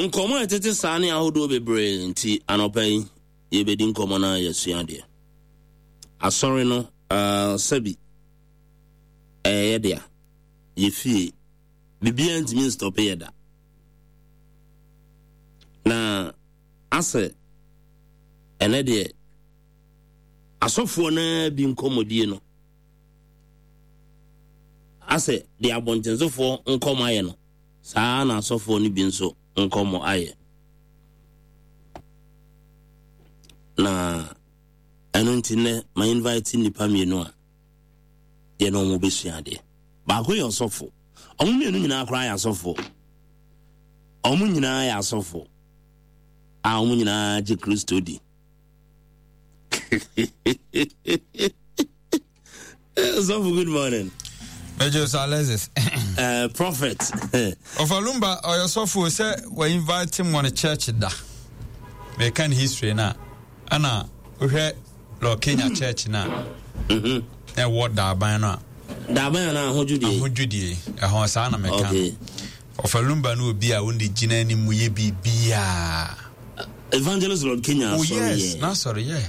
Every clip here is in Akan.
Nkɔmmɔ a ɛtete saa ne ahodoɔ bebree nti anɔpa yi yɛbɛdi nkɔmmɔ no a yɛasua adeɛ. Asɔre no uh, sɛbi ɛyɛ yɛ dea, yɛ fie, biribiara ntumi nstɔpe yɛ da. Na asɛ ɛnɛ deɛ asɔfoɔ no bi nkɔmmɔdie no asɛ deɛ abɔntensofoɔ nkɔmmɔ ayɛ no saa ara na asɔfoɔ no bi nso nkɔmmɔ ayɛ. Na ɛno nti nnɛ ma invite nnipa mmienu a yɛne wɔn bɛsua adeɛ. Baako yɛ ɔsɔfo. Wɔn mmienu nyinaa koraa yɛ asɔfo. Wɔn nyinaa yɛ asɔfo a wɔn nyinaa gye Kristo di. Sɔfo, good morning. Major Sir Alexis. Prophet. Ɔfa Lumba ɔyɛ sɔfo sɛ wɔ invite him on church da. Meka ne history na ɛna wohwɛ Lord Kenya church na na ɛwɔ Daaban no a. Daaban na ahodwudie. Ahodwudie ɛhɔ saa na meka. Okay. Ɔfa Lumba no obi a wɔn de gyina anim yɛ biribiara. Evangelist Lord Kenya. Oh yes, na sɔre yɛ.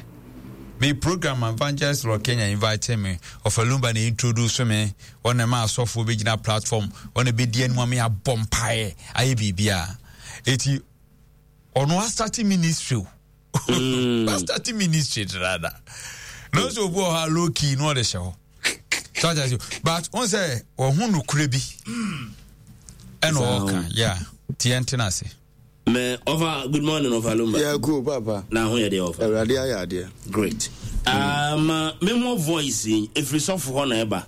Me program Evangelist Lord Kenya invite me. Ɔfa Lumba na introduce me. Ɔna ma asɔfoɔ bɛgyina platform. Ɔna bɛdi anim ama yɛabɔ mpaeɛ ayɛ biribiara. Eti ɔno asate ministry o. Asate ministry dada. Na ɔsɛ obi wɔ hɔ a low key na ɔde hyɛ hɔ. So ati ase but wɔn sɛ wɔn ho nokure bi ɛna ɔka yeah tiɛ ntena ase. Mɛ ɔfa good morning ɔfa Lumba. Yeah cool papa. Na ho yɛ deɛ ɔfa. Awurade ayɛ adeɛ. Great. Um, me mo voice yi efiri sɔfo hɔ na ɛba.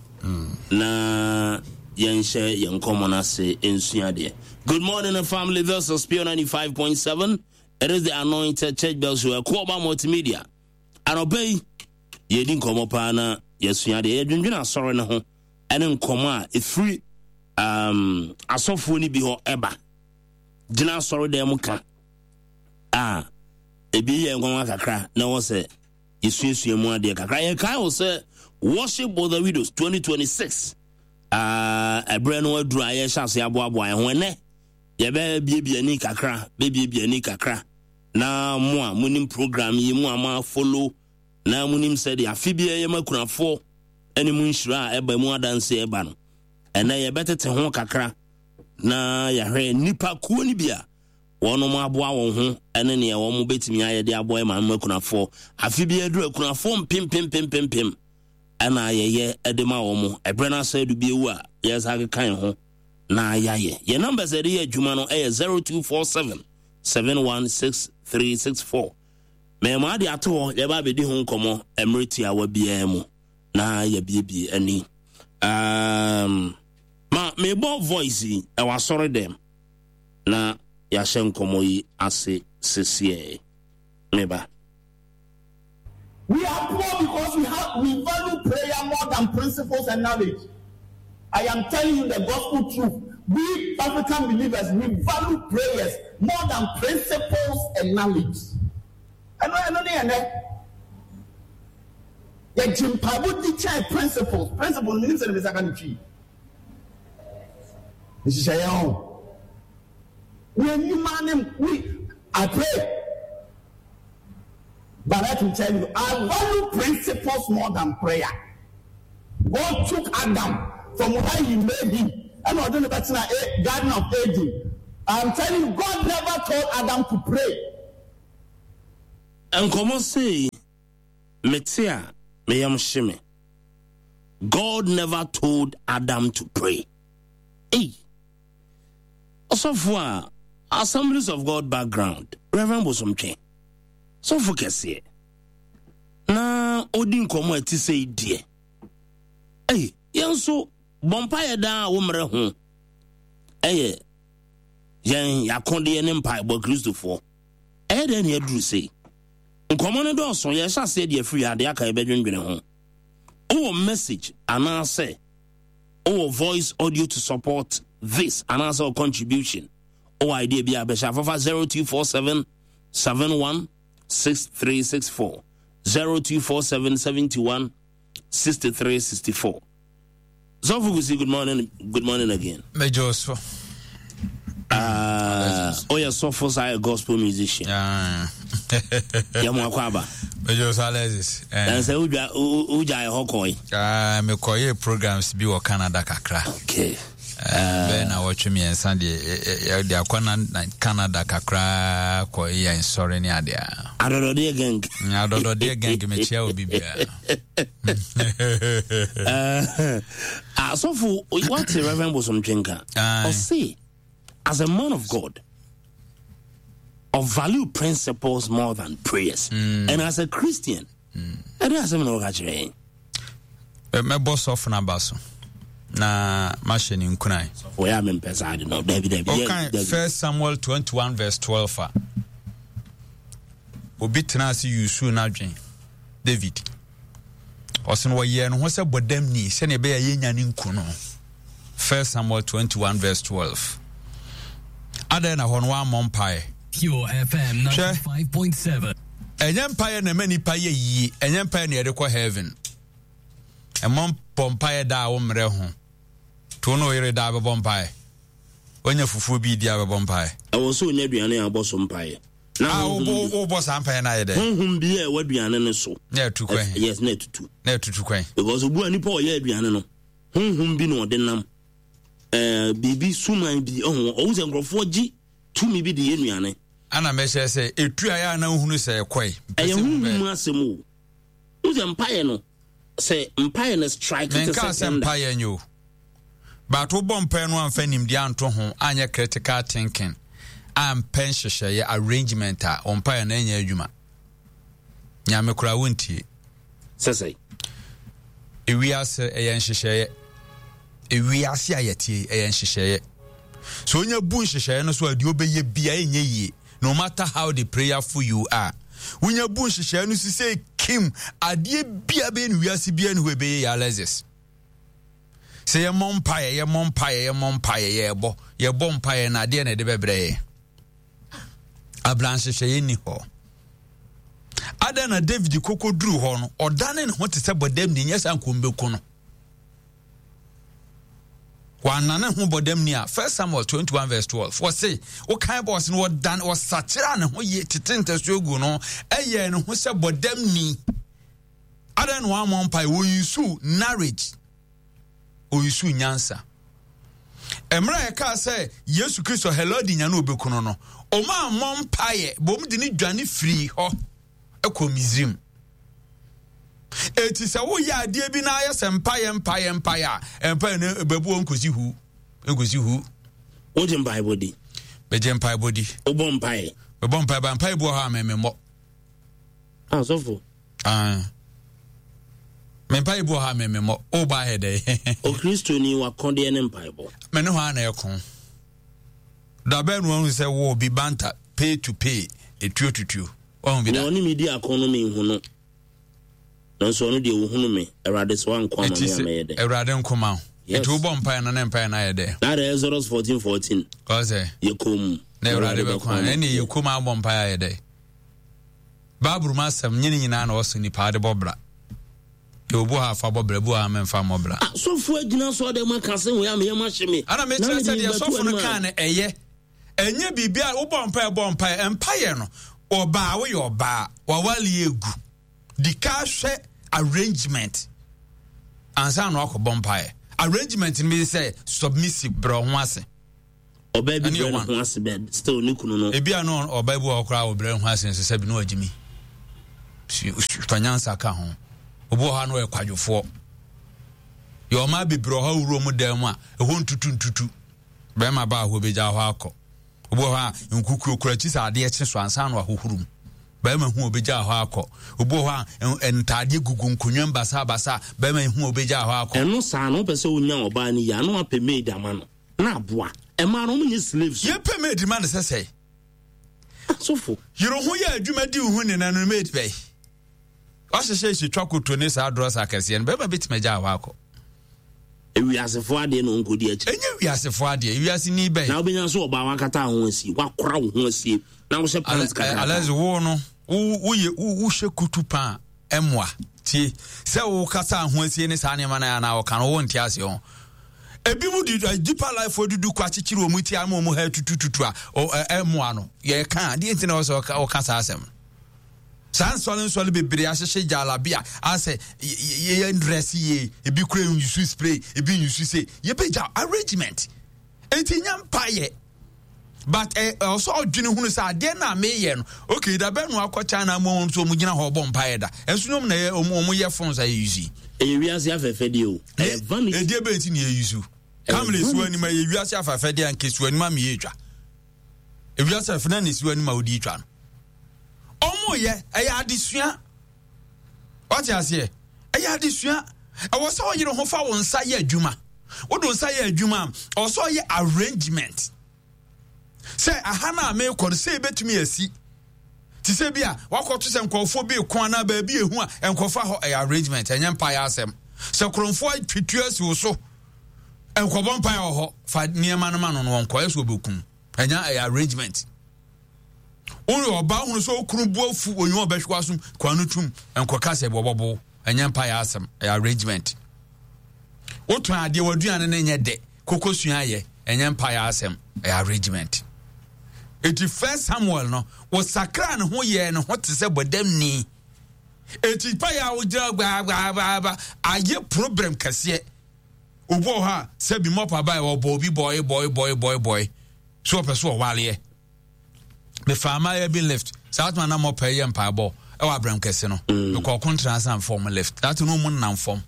Na yɛnhyɛ yɛn nkɔmɔ no ase nsua adeɛ. Good morning family this is Pure 95.7. It is the Anointed Church Bell Show. Ɛkɔɔba Multimedia. Anɔpa yi yɛdi nkɔmɔ paa na yɛsua adeɛ. Yɛdwendwene asɔre no ho ɛne nkɔmɔ a efiri um, asɔfoɔ no bi hɔ ɛba. Gyina asɔredan mu ka a ebi yɛ nwanwa kakra na ɛwɔ sɛ yɛsuasua mu adeɛ kakra. Yɛkae wo sɛ Worship with the Widows 2026 ɛberɛ no aduru a yɛhyɛ ase aboaboa yɛn ho ɛnɛ yɛbɛbiebie ani kakra bɛbiebie ani kakra na mo a monim program yi mo a moafolo na monim sɛdeɛ afe biara yɛma akunafoɔ ne mu nhyira a ɛba mu adanse ɛba no ɛnɛ yɛbɛtete ho kakra na yɛahwɛ nnipa kuo no bi a wɔnom aboa wɔn ho ne nea wɔn bɛtumi ayɛ de aboa ɛma no akunafoɔ. Afe bi aduru akunafoɔ mpempempempempem ɛna yɛyɛ de ma wɔn. Ɛberɛ no asɛ adu bi ewu a yɛsa keka yɛn ho na yɛayɛ. Yɛn numbers a yɛde yɛ adwuma no ɛyɛ 0247 716364. Mɛma ade ato hɔ yɛba abɛdi ho nkɔmmɔ mmerɛ tiawa biara mu na yɛabiebie ani. Um, Ma mebɔ voice yi ɛwɔ asɔre dɛm na yɛahyɛ nkɔmmɔ yi ase sesiɛ. Meba. We are poor because we have we value prayer more than principles and knowledge. I am telling you the gospel truth. We African believers, we value prayers more than principles and knowledge. Ɛno ɛno ne ɛnɛ. Yɛgye mpaebɔ di kyɛn principles. Principles menim sɛ ne mesa ka ne twi. Nhyehyɛeɛ ho. Yɛnim ne we I pray. But let me tell you, I value principles more than prayer. God took Adam from where he made him ɛna ɔde no bɛtena Garden of Eden. I'm telling you, God never told Adam to pray. Nkɔmmɔ sei mete a me yam hye me. God never told Adam to pray. Ei! Ɔsɔfo a Assemblies of God background, Reverend Bosomtwe, sɔfo kɛseɛ, na ɔdi nkɔmmɔ a ɛte sei deɛ. Ei, yɛn nso bɔ mpaeɛ daa a wo mmerɛ ho ɛyɛ yɛn yakodeɛ ne mpaebɔ Kristofoɔ. Ɛyɛ dɛn na aduru sei? Nkɔmmɔ no dɔɔso, yɛhyɛ aseɛ de afiri ha, deɛ aka yɛbɛdwendwene ho. Wowɔ message anaasɛ wowɔ voice audio to support this anaasɛ wo contribution, wowɔ idea bi a bɛhyɛ afafa 0247 71 6364 0247 71 6364. Sɔfo Kusi, good morning, good morning again. Major so. Woyɛ sɔfo saa yɛ gospel musician. Yɛ mo akɔ aba. Mejo so Alexis. Eh. Sɛ wodwa wogya yɛ hɔ kɔe. Ah, mekɔyɛ programs bi wɔ Canada kakra. Okay. Eh, bɛyɛ na wɔtwe mmiɛnsa deɛ yɛde akɔ na Canada kakra kɔ yɛ nsɔre ne adeɛ. Adɔdɔdeɛ gang. Adɔdɔdeɛ gang mekyia obi biara. Asɔfo wate Reverend Bosomtwe nka. Ɔse as a man of God of value principles more than prayers. And as a Christian, ɛde asɛm na wɔka kyerɛ yɛn. Mɛbɔ sɔfo no aba so na mahyɛ ne nkuran. Wɔyɛ a mempɛ saa de no. Dabi dabi. Ɔkan First Samuel 21 verse 12 a obi tena ase yusu n'adwen David. Ɔsɛ no wɔyɛɛ ne ho sɛ bɔdamni sɛnea ɛbɛyɛ yɛnya ne nku no. First Samuel 21 verse 12. Adɛn na hɔ no wammɔ mpaeɛ? Pure FM 95.7. Ɛnyɛ mpaeɛ na ɛma nipa yɛ yie, ɛnyɛ mpaeɛ na yɛde kɔ heaven. Ɛmɔ bɔ mpaeɛ da a wo mmerɛ ho. To no yere da bɛbɔ mpaeɛ. Wanya fufuo bi di a bɛbɔ mpaeɛ. Ɛwɔ sɛ onya aduane a abɔ so mpaeɛ. Na ah, wobɔ saa mpaeɛ no ayɛ dɛ? Honhom bi a ɛwɔ aduane no so. Na ɛtu kwan. Yes, na ɛtutu. Na ɛtutu kwan. Because obu a nipa ɔyɛ aduane no, honhom bi na ɔde nam. Ɛɛ biribi suman bi ɔho ɔho sɛ nkurɔfoɔ gye tumi bi de yɛ nnuane. Ana mɛhyɛ sɛ etu a yɛ a na wohunu sɛ ɛkɔe. Ɛyɛ honhom mu asɛm o. Wo sɛ mpaeɛ no sɛ mpaeɛ no strike te sɛ Menkaa sɛ mpaeɛ nyɛ o. But wobɔ mpaeɛ no amfa nimdeɛ anto ho anyɛ critical thinking ampɛ nhyehyɛeɛ arrangement a wo mpaeɛ no ɛnyɛ adwuma. Nyame koraa wontie. Sɛ sɛ. Ewiase ɛyɛ nhyehyɛeɛ. Ewiase a yɛtie ɛyɛ nhyehyɛeɛ. So onya bu nhyehyɛeɛ no so a deɛ ɔbɛyɛ bia ɛnyɛ yie. No matter how the prayerful you are. Wonya bu nhyehyɛeɛ no so sɛ kim adeɛ bia bɛyɛ no wiase bia ne hɔ ɛbɛyɛ yɛ Alexis. Sɛ yɛmmɔ mpaeɛ yɛmmɔ mpaeɛ yɛmmɔ mpaeɛ yɛbɔ yɛbɔ mpaeɛ na adeɛ na ɛde bɛbrɛ yɛ. Abra nhyehyɛeɛ nni hɔ. Adɛn na David koko duru hɔ no ɔdane ne ho te sɛ bɔdamni nyɛ sɛ ankom bɛku no. Wanane ho bɔdamni a First Samuel 21 verse 12 wɔse wokan bɔ ɔse no wɔdane wɔsakyera ne ho yie tete ntasuo gu no ɛyɛ ne ho sɛ bɔdamni. Adɛn na wammɔ mpae? Wɔyusu knowledge, ɔyusu nyansa. Mmerɛ a ɛkaa sɛ Yesu Kristo Herode nya no ɔbɛku no no, ɔma ammɔ mpaeɛ, bom de ne dwane firii hɔ kɔ Misrim. Eti sɛ woyɛ adeɛ bi na ayɛ sɛ mpaeɛ mpaeɛ mpaeɛ a, mpaeɛ no bɛbu wɔn nkosi hu, nkosi hu. Wogye mpaebɔ di? Megye mpaebɔ di. Wobɔ mpaeɛ? Mebɔ mpaeɛ, ba mpaeɛ bi wɔ hɔ a memmɔ. Asɔfo. Ah. Me mpaebɔ wɔ ha me me mmɔ. O ba ayɛ dɛ. Okristoni wakɔdeɛ ne mpaebɔ. Me ne hɔ a na ɛko. Dabɛn no wahu sɛ wo bi banta pay to pay etuo tutuo. Wahu bi da. Na ɔne me di ako no menhu no. Nanso ɔno deɛ ɔhunu me. Awurade sɛ wanko ama me a mɛyɛ dɛ. Awurade nko ma wo. Yes. Eti wobɔ mpaeɛ no ne mpaeɛ no ayɛ dɛ. Na de Exodus 14 14. Ɔsɛ. Yɛ komm. Na Awurade bɛko ama. Ɛne yɛ komm abɔ mpaeɛ ayɛ dɛ. Bible mu asɛm nye ne nyinaa na ɔsɔ nipa de bɔ bra. Yɛ obu ha fa bɔ bra, ebu ha memfa mmɔ bra. Ah, sɔfo agyina so ɔdɛ ma ka se wei ameyɛ ma hye me. Ana mekyerɛ sɛ deɛ sɔfo no kaa no ɛyɛ. Ɛnyɛ biribi a wobɔ mpaeɛ bɔ mpaeɛ. Mpaeɛ no, ɔbaa woyɛ ɔbaa, wawale egu. Di ka hwɛ arrangement ansa na wakɔbɔ mpaeɛ. Arrangement no bi sɛ submissive brɛ ho ase. Ɔbaa bi brɛ ne ho ase bɛ still ne kunu no. Ebi a no ɔbaa bi wɔ hɔ koraa ɔbrɛ ne ho ase nso sɛ bi no wagyimi. Fa nyansa ka ho. Obi wɔ hɔ a no ɔyɛ kwadwofoɔ. Yɛ ɔmaa bebree wɔ hɔ awuro mu dan mu a ɛhɔ ntutu ntutu. Bɛrima baa hɔ bɛgya hɔ akɔ. Obi wɔ hɔ a nkukuo kura akyi sɛ adeɛ kye so ansa na wahohoro mu. Bɛrima hu obegya hɔ akɔ. Obi wɔ hɔ a ntaadeɛ gugu nkonnwa mu basabasa. Bɛrima hu obegya hɔ akɔ. Ɛno saa no wopɛ sɛ wonya ɔbaa no yie a na wapɛ maid ama no. Na aboa. Ɛmaa no wɔn nyɛ slaves. Yɛ pɛ maid ma no sɛ sɛe. Asofo. Yere ho yɛ adwuma di wo ho ni na no maid bɛyi. Wahyehyɛ hyɛ twa koto ne saa drɔs akɛseɛ no bɛrima bɛtumi agya hɔ akɔ. Ewiasefo adeɛ na ɔnkɔdi akyi. Ɛnyɛ wiasefo adeɛ, ewiase ni bɛyi. Na wobɛnya nso ɔbaa wakata ho asie, wakora wo ho asie na wohyɛ pants kakra. Alɛs wo no, woyɛ wohyɛ kutu paa ɛmoa tie sɛ wokasa ho asie ne saa nneɛma no anaa wɔka no wonte aseɛ ho. Ebi mu de eh, deeper life dudu kɔ akyekyere wɔn ti ama wɔn ha tutututu a ɛmoa no. Yɛka adeɛ nti na ɔsɛ ɔka saa asɛm. Saa nsɔle nsɔle bebree ahyehyɛ gyalabi a asɛ yɛ ndrɛs yie ebi kura nyusu spray ebi nyusu se yɛbɛgya arrangement. Eti nya mpaeɛ. But ɛ eh, ɔsɔ ɔdwene hunu sɛ adeɛ no a meyɛ no okay da bɛn no akɔ China mu wɔn nso wɔn gyina hɔ ɔbɔ mpaeɛ da ɛnso nyom na ɛyɛ wɔn yɛ phones a yɛ use. Ɛyɛ wiase afɛfɛdeɛ o. Ɛyɛ vanity. Ɛdeɛ bɛn ti na yɛ use. Kamle esiwa anim ɛyɛ wiase afɛfɛdeɛ anka esiwa anim ama yɛ etwa. Ewiase afɛfɛ na esiwa anim a odi etwa no. Ɔmo yɛ ɛyɛ adesua. Wate aseɛ? Ɛyɛ adesua. Ɛwɔ sɛ ɔyere ho fa wo nsa yɛ adwuma. Wode wo nsa yɛ adwuma a, ɔwɔ sɛ ɔyɛ arrangement. Sɛ aha no a merekɔ no, sɛ ebetumi asi. Te sɛ bi a wakɔto sɛ nkurɔfoɔ bi reko anaa baabi ehu a, nkɔfa hɔ ɛyɛ arrangement, ɛnyɛ mpaeɛ asɛm. Sɛ korɔmfoɔ atwitwi asi wo so, nkɔbɔ mpaeɛ wɔ hɔ, fa nneɛma no ma no no ɔnkɔ, ɛsɛ ɔbɛkum. Ɛnyɛ ɛyɛ arrangement. Woyɛ ɔbaa hunu sɛ okunu bu afu onyi ɔbɛhwe w'asom kwan no tum nkɔka sɛ wɔbɔbo ɛnyɛ mpa yɛ asɛm ɛyɛ arrangement. Wotɔn adeɛ w'aduane no nyɛ dɛ koko sua yɛ ɛnyɛ mpa yɛ asɛm ɛyɛ arrangement. Eti first Samuel no wɔsakra ne ho yɛɛ ne ho te sɛ bɔdamni. Eti pa yɛ a wogyina gbaagbaagba ayɛ problem kɛseɛ. Obi wɔ hɔ a sɛ bi mɔpa ba ɔbɔ obi bɔe bɔe bɔe bɔe bɔe so ɔpɛ so ɔwaleɛ. Mefaa mmayewa bi lift saa tuma na mɔpa yɛ mpaebɔ ɛwɔ abram kɛse no. Mm. Mekɔ ɔko ntena ase na mfa wɔn lift. Saa tuma wɔn nam fam.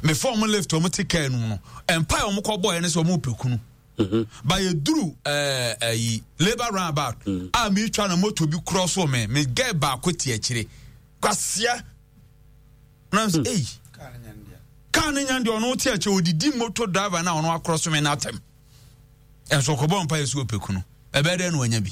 Mefa wɔn lift wɔn te kaa no mu no. Mpae wɔn kɔ bɔɔ ne sɛ wɔn pɛ kunu. Mm-hmm. Ba yɛ duru ɛɛ ɛyi labour roundabout mm. a mi twa na moto bi korɔ so me me gɛ baako te akyire. Kwasia. Na sɛ ei. Kaa ne nya deɛ ɔno te akyire odidi moto driver na ɔno akorɔ so me n'atɛm. Ɛnso ɔkɔbɔ mpa yɛ so ɔpɛ kunu. Ɛbɛyɛ dɛ na wanya bi.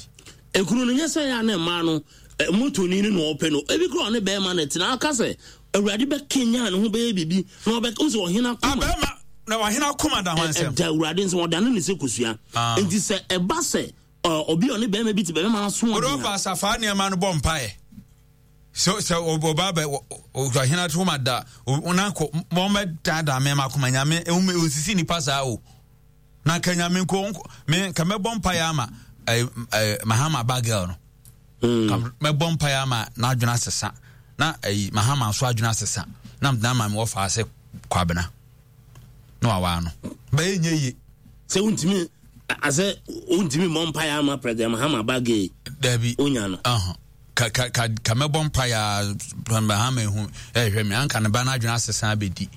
Ekunu no nyɛ sɛ yɛ a na mmaa no motoni no na ɔpɛ no. Ebi kura ɔne bɛrima no tena aka sɛ Awurade bɛkanyan ne ho bɛyɛ biribi na ɔbɛ sɛ ɔhene akoma. Abɛrima na ɔhene akoma da ho nsɛm. Ɛda Awurade nsɛm ɔdane ne sɛ kosua. Ah. Nti sɛ ɛba sɛ obi a ɔne bɛrima bi te bɛrima no aso ɔden a. Ɔdɔ asafaa nneɛma no bɔ mpaeɛ. Sɛ sɛ ɔba bɛ ɔhene akoma da ɔnakɔ wɔn bɛ daadaa mɛma akoma nyame ɔnsisi nipa saa o. Na nka nyame nko me nka mɛbɔ mpaeɛ ama eh, eh, mahama ba girl no mm. Ka mɛbɔ mpaeɛ ama n'adwene asesa na eh, mahama nso adwene asesa na mede ama me wɔfa ase kwabena na wawaa no bɛyɛ nyɛ yie sɛ wontumi asɛ wontumi mmɔ mpaeɛ ama president mahama ba gay dabi onya no uh -huh. ka ka ka ka mɛbɔ mpaeɛ mahama ehu ɛhwɛ me anka ne ba no adwene asesa abɛdi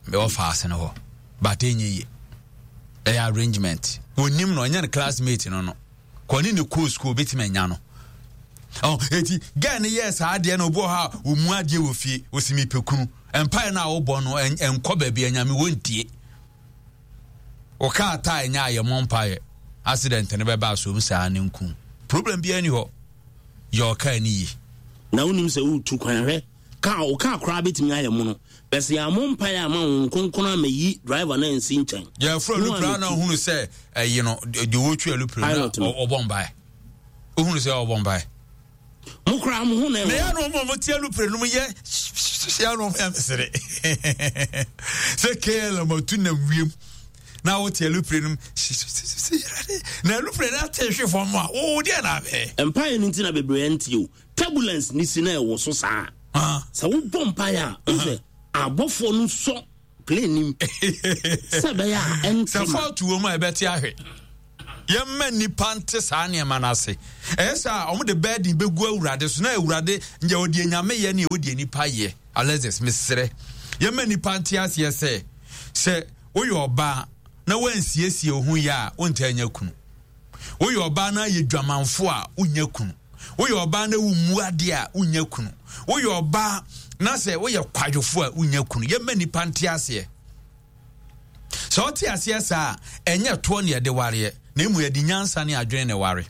mewɔ faase no hɔ but ɛnyɛ yie ɛyɛ arrangement wɔnim no ɛnyɛ no classmate no no kɔne ne kɔɔ school obɛtumi anya no oh, eti girl no yɛɛ saa adeɛ no obi wɔ hɔ a ɔmu adeɛ wɔ fie ɔsi mepɛ kunu mpaeɛ no a wobɔ no ɛnkɔ baabi anyame wɔntie wo kaa taa ɛnyɛ ayɛ mɔ mpaeɛ accident no bɛba asom saa ne nku problem biara ni hɔ yɛ ɔkaa ne yie na wonim sɛ woretu kwan hwɛ Kaa wo kaa koraa bɛtumi ayɛ mono. Bɛ sɛ yɛammɔ mpaeɛ amma Honhom Kronkron ammɛyi driver no ansi nkyɛn. Yɛfrɛ alupre na ɔhunu sɛ ɛyi no deɛ ɔtwi alupre no ɔbɔ mpaeɛ. Ɔhunu sɛ ɔbɔ mpaeɛ. Mo koraa mo ho na ɛwɔ. Na yɛ no ɔmo ɔmo te alupre no mo yɛ yɛ no ɔmo yɛ mesere. Sɛ KLM atu nam wiem na wote alupre no na alupre no ate hwe fam a wo deɛ na abɛɛ. Mpaeɛ no nti na bebree nte o. Turbulence ne si na ɛwɔ so saa. Sɛ wobɔ mpaeɛ a, wohu sɛ abɔfoɔ no sɔ plane nim sɛ ɛbɛyɛ a ɛnte Sɛ fault wɔ mu a ɛbɛte ahwɛ. Yɛmma nnipa nte saa nneɛma no ase. Ɛyɛ sɛ a wɔde burden bɛgu Awurade so na Awurade nyɛ ɔdeɛ Nyame yɛ ne ɛwɔ deɛ nnipa yɛ. Alexis, mesrɛ. Yɛmma nnipa nte aseɛ sɛ sɛ woyɛ ɔbaa na woansiesie wo ho yɛ a wontaa nya kunu. Woyɛ ɔbaa na ayɛ dwamanfo a wonnya kunu. Woyɛ ɔbaa na wommu adeɛ a wonnya kunu. Woyɛ ɔbaa na sɛ woyɛ kwadwofo a wonnya kunu. Yɛmma nnipa nte aseɛ. Sɛ ɔte aseɛ saa a, ɛnyɛ toɔ ne yɛde wareɛ, na emu yɛde nyansa ne adwene na ɛware.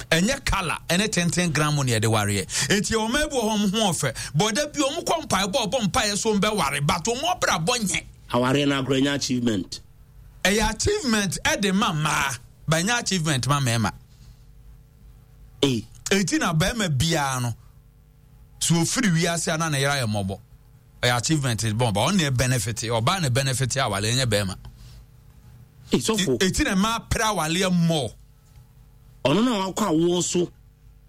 Ɛnyɛ kala ɛne tenten gram ne yɛde wareɛ. Enti ɔmaa bi wɔ hɔ ɔmo ho ɔfɛ. Bɔda bi ɔmo kɔ mpaebɔ ɔbɔ mpaeɛ so ɔmo but ɔmo abrabɔ nyɛ. Awareɛ no agorɔ ɛnyɛ achievement. Ɛyɛ achievement ɛde ma mmaa, but ɛnyɛ achievement ma mmarima. Eti na barima biara no so ofiri wiase a na ne yere ayɛ mmɔbɔ. Ɛyɛ achievement bɔn ba ɔno na benefit ɔbaa na benefit awale ɛnyɛ barima. Sɔfo. Eti na mmaa pere awaleɛ mmɔ. Ɔno na wakɔ awoɔ so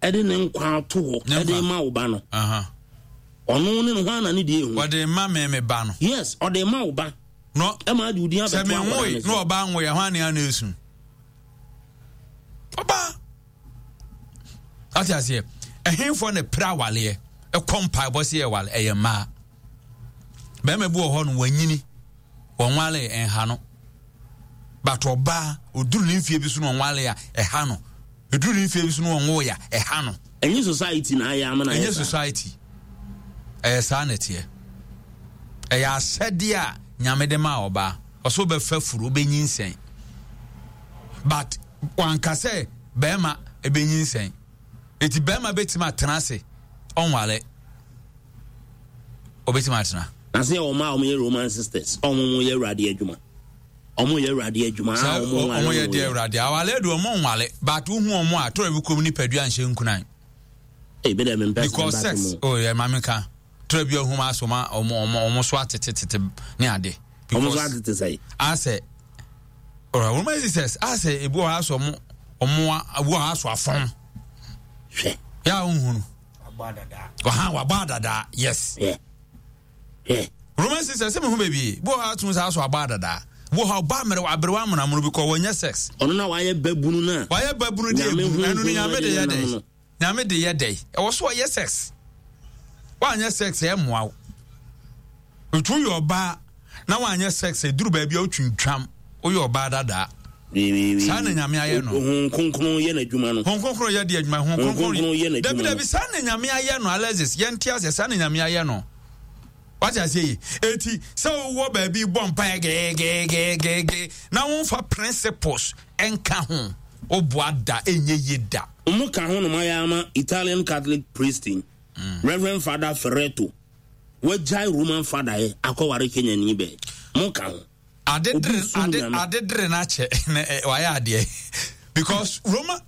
ɛde ne nkwa ato hɔ ɛde ma wo ba no. Ɔno ne no hwan na ne deɛ ehu. Ɔde ma me me ba no. Yes, ɔde ma wo ba. No. Ɛma adi odi abɛto akwadaa no so. Sɛ me nwoe na ɔba nwoe hwan ne ano esu. Ɔba. Ate aseɛ. Ɛhenfoɔ na pere awaleɛ ɛkɔ mpaebɔ sɛ yɛ wale ɛyɛ mmaa. Bɛrima bi wɔ hɔ no wanyini. Wɔnwale ɛnha no. But ɔbaa oduru ne mfie bi so na ɔnwale a ɛha no. Eduru ne mfie bi so na ɔnwoe a ɛha no. Ɛnyɛ society na ayɛ ama na ayɛ saa. Ɛnyɛ society. Ɛyɛ saa na ɛteɛ. Ɛyɛ asɛdeɛ a Nyame de maa ɔbaa. Ɔsɛ wobɛfa furu, wobɛnyinsɛn. But wanka sɛ bɛrima ɛbɛnyinsɛn. Eti bɛrima bɛtumi atena ase ɔnwale. Ɔbɛtumi atena. Na sɛ wɔn a wɔyɛ Roman sisters, wɔn yɛ awurade adwuma. Wɔn yɛ awurade adwuma a wɔn nwale. Wɔn yɛ deɛ awurade awale de wɔn nwale but wohu wɔn a tɔrɔ bi kɔm nipadua nhyɛ nkunan. Ebi dɛ mempɛ because sex oh yɛ maame ka tɔrɔ bi ohun aso ma wɔn wɔn wɔn so atete tete ne ade. Wɔn so atete sɛ. Asɛ ɔrɔ Roman sisters asɛ ebi wɔ hɔ asɔ wɔn wɔn ebi wɔ hɔ aso afɔn. Hwɛ. Yɛ a ohun. Ɔhan wabɔ adadaa yes. Yeah. Yeah. Roman sisters sɛ mehu baabi bi wɔ hɔ atum saa so abɔ adadaa bi wɔ hɔ ɔba mmerɛ aberewa amonamono bi kɔ wɔnyɛ sex. Ɔno na wayɛ babunu no a. Wayɛ babunu de ebu ɛno no nyame de yɛ dɛ nyame de yɛ dɛ ɛwɔ so ɔyɛ sex wanyɛ sex ɛmmoa wo etu yɛ ɔbaa na wanyɛ sex eduru baabi a otwintwam woyɛ ɔbaa dadaa saa na nyame ayɛ no. Honhom kronkron yɛ n'adwuma no. Honhom kronkron yɛ de adwuma. Honhom kronkron yɛ n'adwuma. Dabi dabi saa na nyame ayɛ no Alexis yɛn ti aseɛ saa na nyame ayɛ no. Wate aseɛ yi eti sɛ wowɔ baabi bɔ mpaeɛ geegeegeege na wonfa principles nka ho woboa da ɛnyɛ yie da. Wɔn ka ho nom ayɛ ama Italian Catholic priest mm. Reverend Father Ferretto wagyae Roman father yɛ akɔware Kenyani bɛɛ mo ka ho. Ade dere ade ade dere na kyɛ na eh, wayɛ adeɛ because Roma.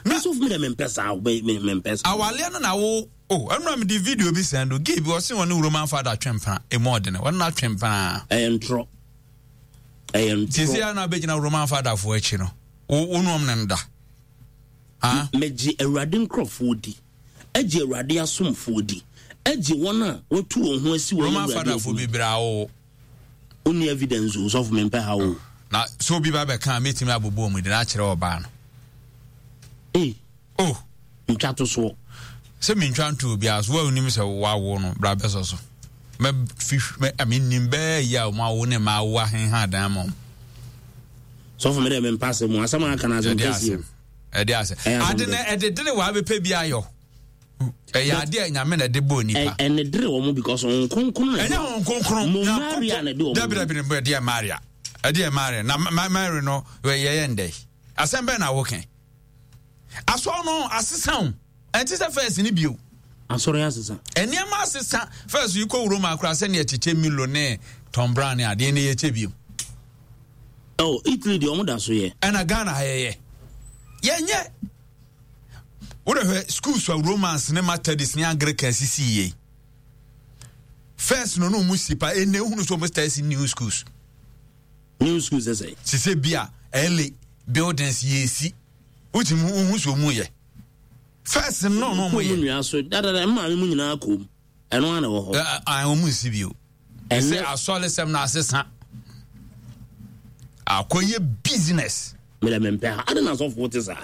Na so mi dɛ mi mpɛ saa mi mi mpɛ saa. Awaleɛ no na wo o oh, ɛnura mi di video bi sɛn do gay bi ɔsi wɔn ne Roman father twɛn emu ɔdene wɔn na twɛn paa. Ɛyɛ ntorɔ ɛyɛ ntorɔ. Sisi a na abɛgyina Roman father fo akyi no wo wo nom ne da. Mɛgye Awurade nkorɔfoɔ di. Gye Awurade asomfoɔ di. Gye wɔn a wɔatu wɔn ho asi wɔn Roman Awurade father fo adwuma. bebree awowo. Wonni evidence o, sɔfo mempɛ ha o. Na sɛ obi ba bɛka a mɛtumi abobɔ wɔn din akyerɛ ɔbaa no. Ei. Oh. Ntwa to soɔ. Sɛ mentwa nto obiara so, wo a wonim sɛ wawo no, bra bɛsɔ so. Mɛfi mɛ menim bɛɛ yi a wɔn awo ne mmaa awo ahenha adan ma wɔn. Sɔfo me dɛ mempɛ asɛm o, asɛm a aka no asɛm kɛseɛ o. Ɛde asɛm. Ade na ɛde dere wɔ abɛpɛ bi ayɔ. Ɛyɛ ade a nyame na ɛde bɔɔ nipa. Ɛne dere wɔn because wɔn kronkron na ɛnyɛ wɔn kronkron. Mo Maria na ɛde wɔn. Dabi dabi ne ɛdeɛ Maria. Ɛdeɛ Maria na Mary no yɛyɛ ndɛ. Asɛm bɛn na wokɛ. Asɔr no asesa o. Ɛnte sɛ first ne bio. Asɔre asesa. Nneɛma asesa. First yi kɔ Roma koraa sɛnea ɛkyekyɛ Milo ne Tom Brown ne adeɛ ne yɛkyɛ bio. Oh, Italy deɛ ɔmo da so yɛ. Ɛna Ghana ha yɛyɛ. Yɛnyɛ. Wode hwɛ schools a Romans ne Methodist ne Anglican sisi yie. First no no ɔmo si pa ɛnna ehunu so ɔmo start si new schools. New schools ɛsɛ. Sise bi a ɛle buildings yɛsi. Wotumi wohu so ɔmo yɛ. First no no ɔmo yɛ. Kɔn mu nua so dadada mmaame mu nyinaa kɔn mu. Ɛno ara na ɛwɔ hɔ. Ɔmo nsi bio. Ɛsɛ asɔresɛm no asesa. Akɔyɛ business. Mede mempɛ ha. Ade na asɔfoɔ te saa.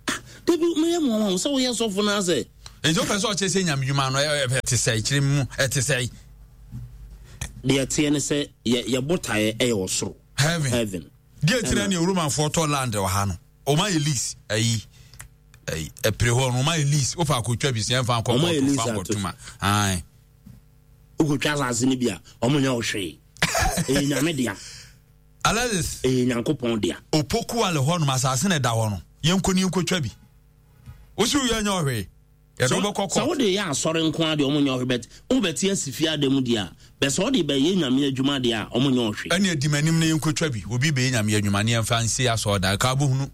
Ah, dabi meyɛ mo wɔn sɛ woyɛ sɔfo no asɛ. Nti wopɛ sɛ ɔkyerɛ sɛ nyamedwuma no ɛte sɛ kyerɛ mu ɛte sɛ. Deɛ ɛteɛ ne sɛ yɛ botaeɛ ɛyɛ ɔsoro. Heaven. Heaven. Deɛ ɛkyerɛ ne Romanfoɔ tɔ land wɔ ha no. Ɔma yɛ lease ayi. Ɛpere hɔ no ɔma yɛ lease wofa akɔtwa bi sɛ ɛmfa nkɔ kɔɔto fa nkɔtoma. Ae. Wokɔtwa asase no bi a, ɔmo nyɛ wo hwee. Ɛyɛ Nyame dea. Alexis. Ɛyɛ Nyankopɔn dea. Opoku ale hɔ nom asase na ɛda hɔ no, yɛnkɔ ne yɛnkɔtwa bi. Wosi woyɛ nyɛ ɔhwee. Yɛde wobɛkɔ kɔ. Sɛ wode yɛ asɔre nko ara deɛ ɔmo nyɛ ɔhwee but wobɛte asi fie ada mu deɛ a, bɛ sɛ wode bɛyɛ Nyame adwuma deɛ a, ɔmo nyɛ ɔhwee. Ɛne adi m'anim na yɛnkɔtwa bi. Obi bɛyɛ Nyame adwuma ne yɛmfa nsi asɔredan. Ka wobɛhunu.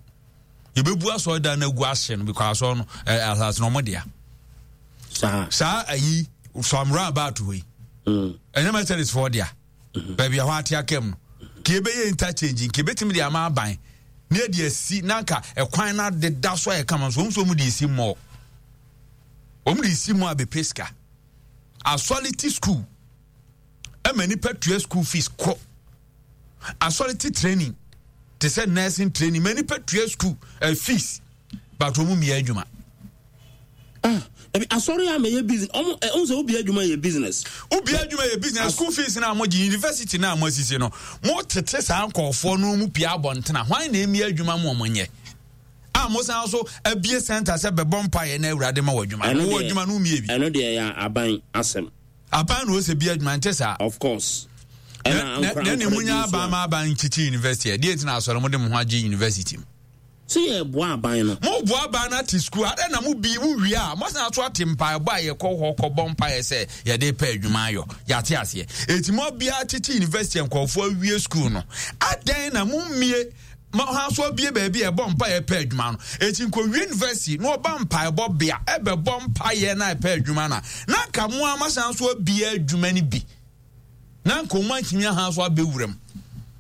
Yɛbɛbu asɔredan no agu ahye no because asɔre no, asase no ɔmo dea. Saa. Saa ayi from round about hɔ yi. Mm. Ɛnyɛ Methodist foɔ dea. Mm-hmm. Baabi a hɔ ate aka mu no. Ka yɛbɛyɛ interchange nka yɛbɛtumi de ama aban na yɛde asi na nka ɛkwan no adeda so ayɛ kama nso wɔn nso wɔn de esi mmɔɔ. Wɔn de esi mmɔɔ abɛpɛ sika. Asɔre ti school ɛma nipa tua school fees kɔ. Asɔre ti training te sɛ nursing training ma nipa tua school uh, fees but wɔn mmea adwuma. Ah, ebi asɔre a mɛyɛ business ɔmo ɛ ɔmo sɛ obi adwuma yɛ business. Obi adwuma yɛ business school fees na mo gye university na mo asisi no mo tete saa nkɔɔfoɔ no mu pia abɔntena hwan na emi adwuma mo ɔmo nyɛ a mo san so abie center sɛ bɛbɔ mpa yɛ na awurade ma wɔ adwuma no wɔ adwuma no mie bi. Ɛno deɛ yɛ aban asɛm. Aban na ɔsɛ bi adwuma nte saa. Of course. Ɛna na ne mu nya aban ma aban nkyekye university ɛdeɛ nti na asɔre mo de mo ho agye university mu. Sɛ yɛ boa aban no. Mo boa aban no ate sukuu adɛn na mo bi mo wie a mo asan aso ate mpaebɔ a yɛkɔ hɔ kɔ bɔ mpaeɛ sɛ yɛde pɛ adwuma ayɔ yɛate aseɛ eti mo abia kyekye university nkurɔfoɔ awie sukuu no adɛn na mo mmie ma ha so abie baabi a ɛbɔ mpaeɛ pɛ adwuma no eti nkɔwie university na ɔba mpaebɔ bea ɛbɛbɔ mpaeɛ na ɛpɛ adwuma na na nka mo ama san so abie adwuma no bi na nka wɔn antumi aha so abɛwura mu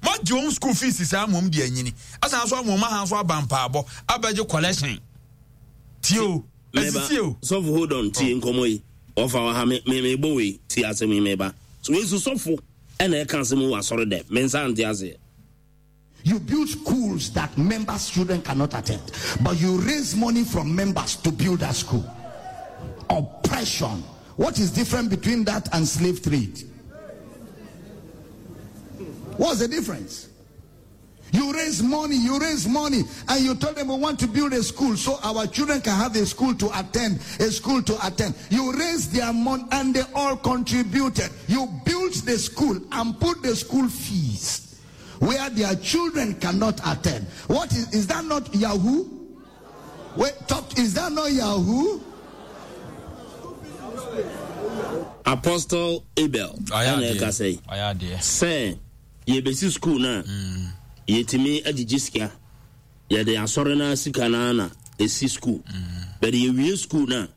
moagye wɔn school fees saa mmom de anyini asan so ama wɔn aha so aba mpaabɔ abɛgye collection tie o asisi o. Sɔfo hold on tie oh. nkɔmɔ yi ɔfa wɔ ha me me me bɔ wei tie asɛm yi meba so wei so sɔfo ɛna ɛka asɛm wɔ asɔre dɛ me nsa nte aseɛ. You build schools that members' children cannot attend, but you raise money from members to build that school. Oppression. What is different between that and slave trade? What's the difference? You raise money, you raise money, and you tell them we want to build a school so our children can have a school to attend, a school to attend. You raise their money and they all contributed. You built the school and put the school fees where their children cannot attend. What is, is that not Yahoo? Wait, talk, is that not Yahoo? Apostle Abel ɛna ɛka sɛ sɛ yɛbɛsi school no a mm. yɛtumi agyegye sika yɛde asɔre no sika no na ɛsi school mm. but yɛwie school no a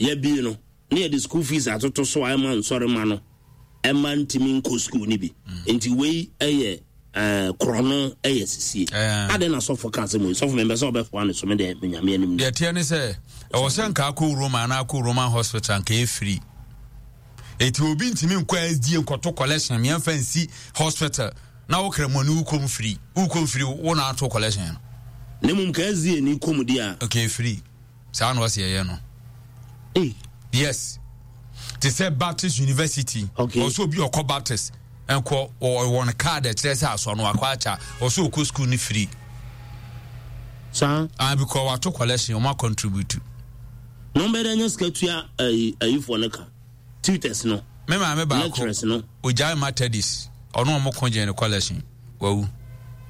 yɛbie no na yɛde school fees atoto so a ɛma nsɔremma no ɛma ntumi nkɔ school no bi mm. nti wei ɛyɛ eh, korɔno ɛyɛ sisie eh. adɛn na sɔfo ka asɛm wei sɔfo mempɛ sɛ ɔbɛfoa ne so me deɛ menyame anim deɛ teɛ ne sɛ ɛwɔ sɛ nka akɔ roma anaa akɔ roman hospital nka ɛfiri ɛti obi ntumi nkɔ sda nkɔto collection meɛmfa nsi hospital na wokra mu ani wokɔm firi wokɔm firi wo na ato collection no na mmom ka sda ni kɔm di a okay firi saa na ɔsɛ yɛyɛ no hey. yes te sɛ baptist university okay. ɔsɛ obi ɔkɔ baptist nkɔ wɔn card ɛkyerɛ sɛ asɔ no akɔ akya ɔsɛ ɔkɔ school no free saa ah because wato collection ɔmo contribute na ɔmo bɛyɛ dɛ nya sika tua ayi ayifoɔ no ka tutors no me maame baako lecturers no ogyae methodist ɔno ɔmo ko gyee ne collection wawu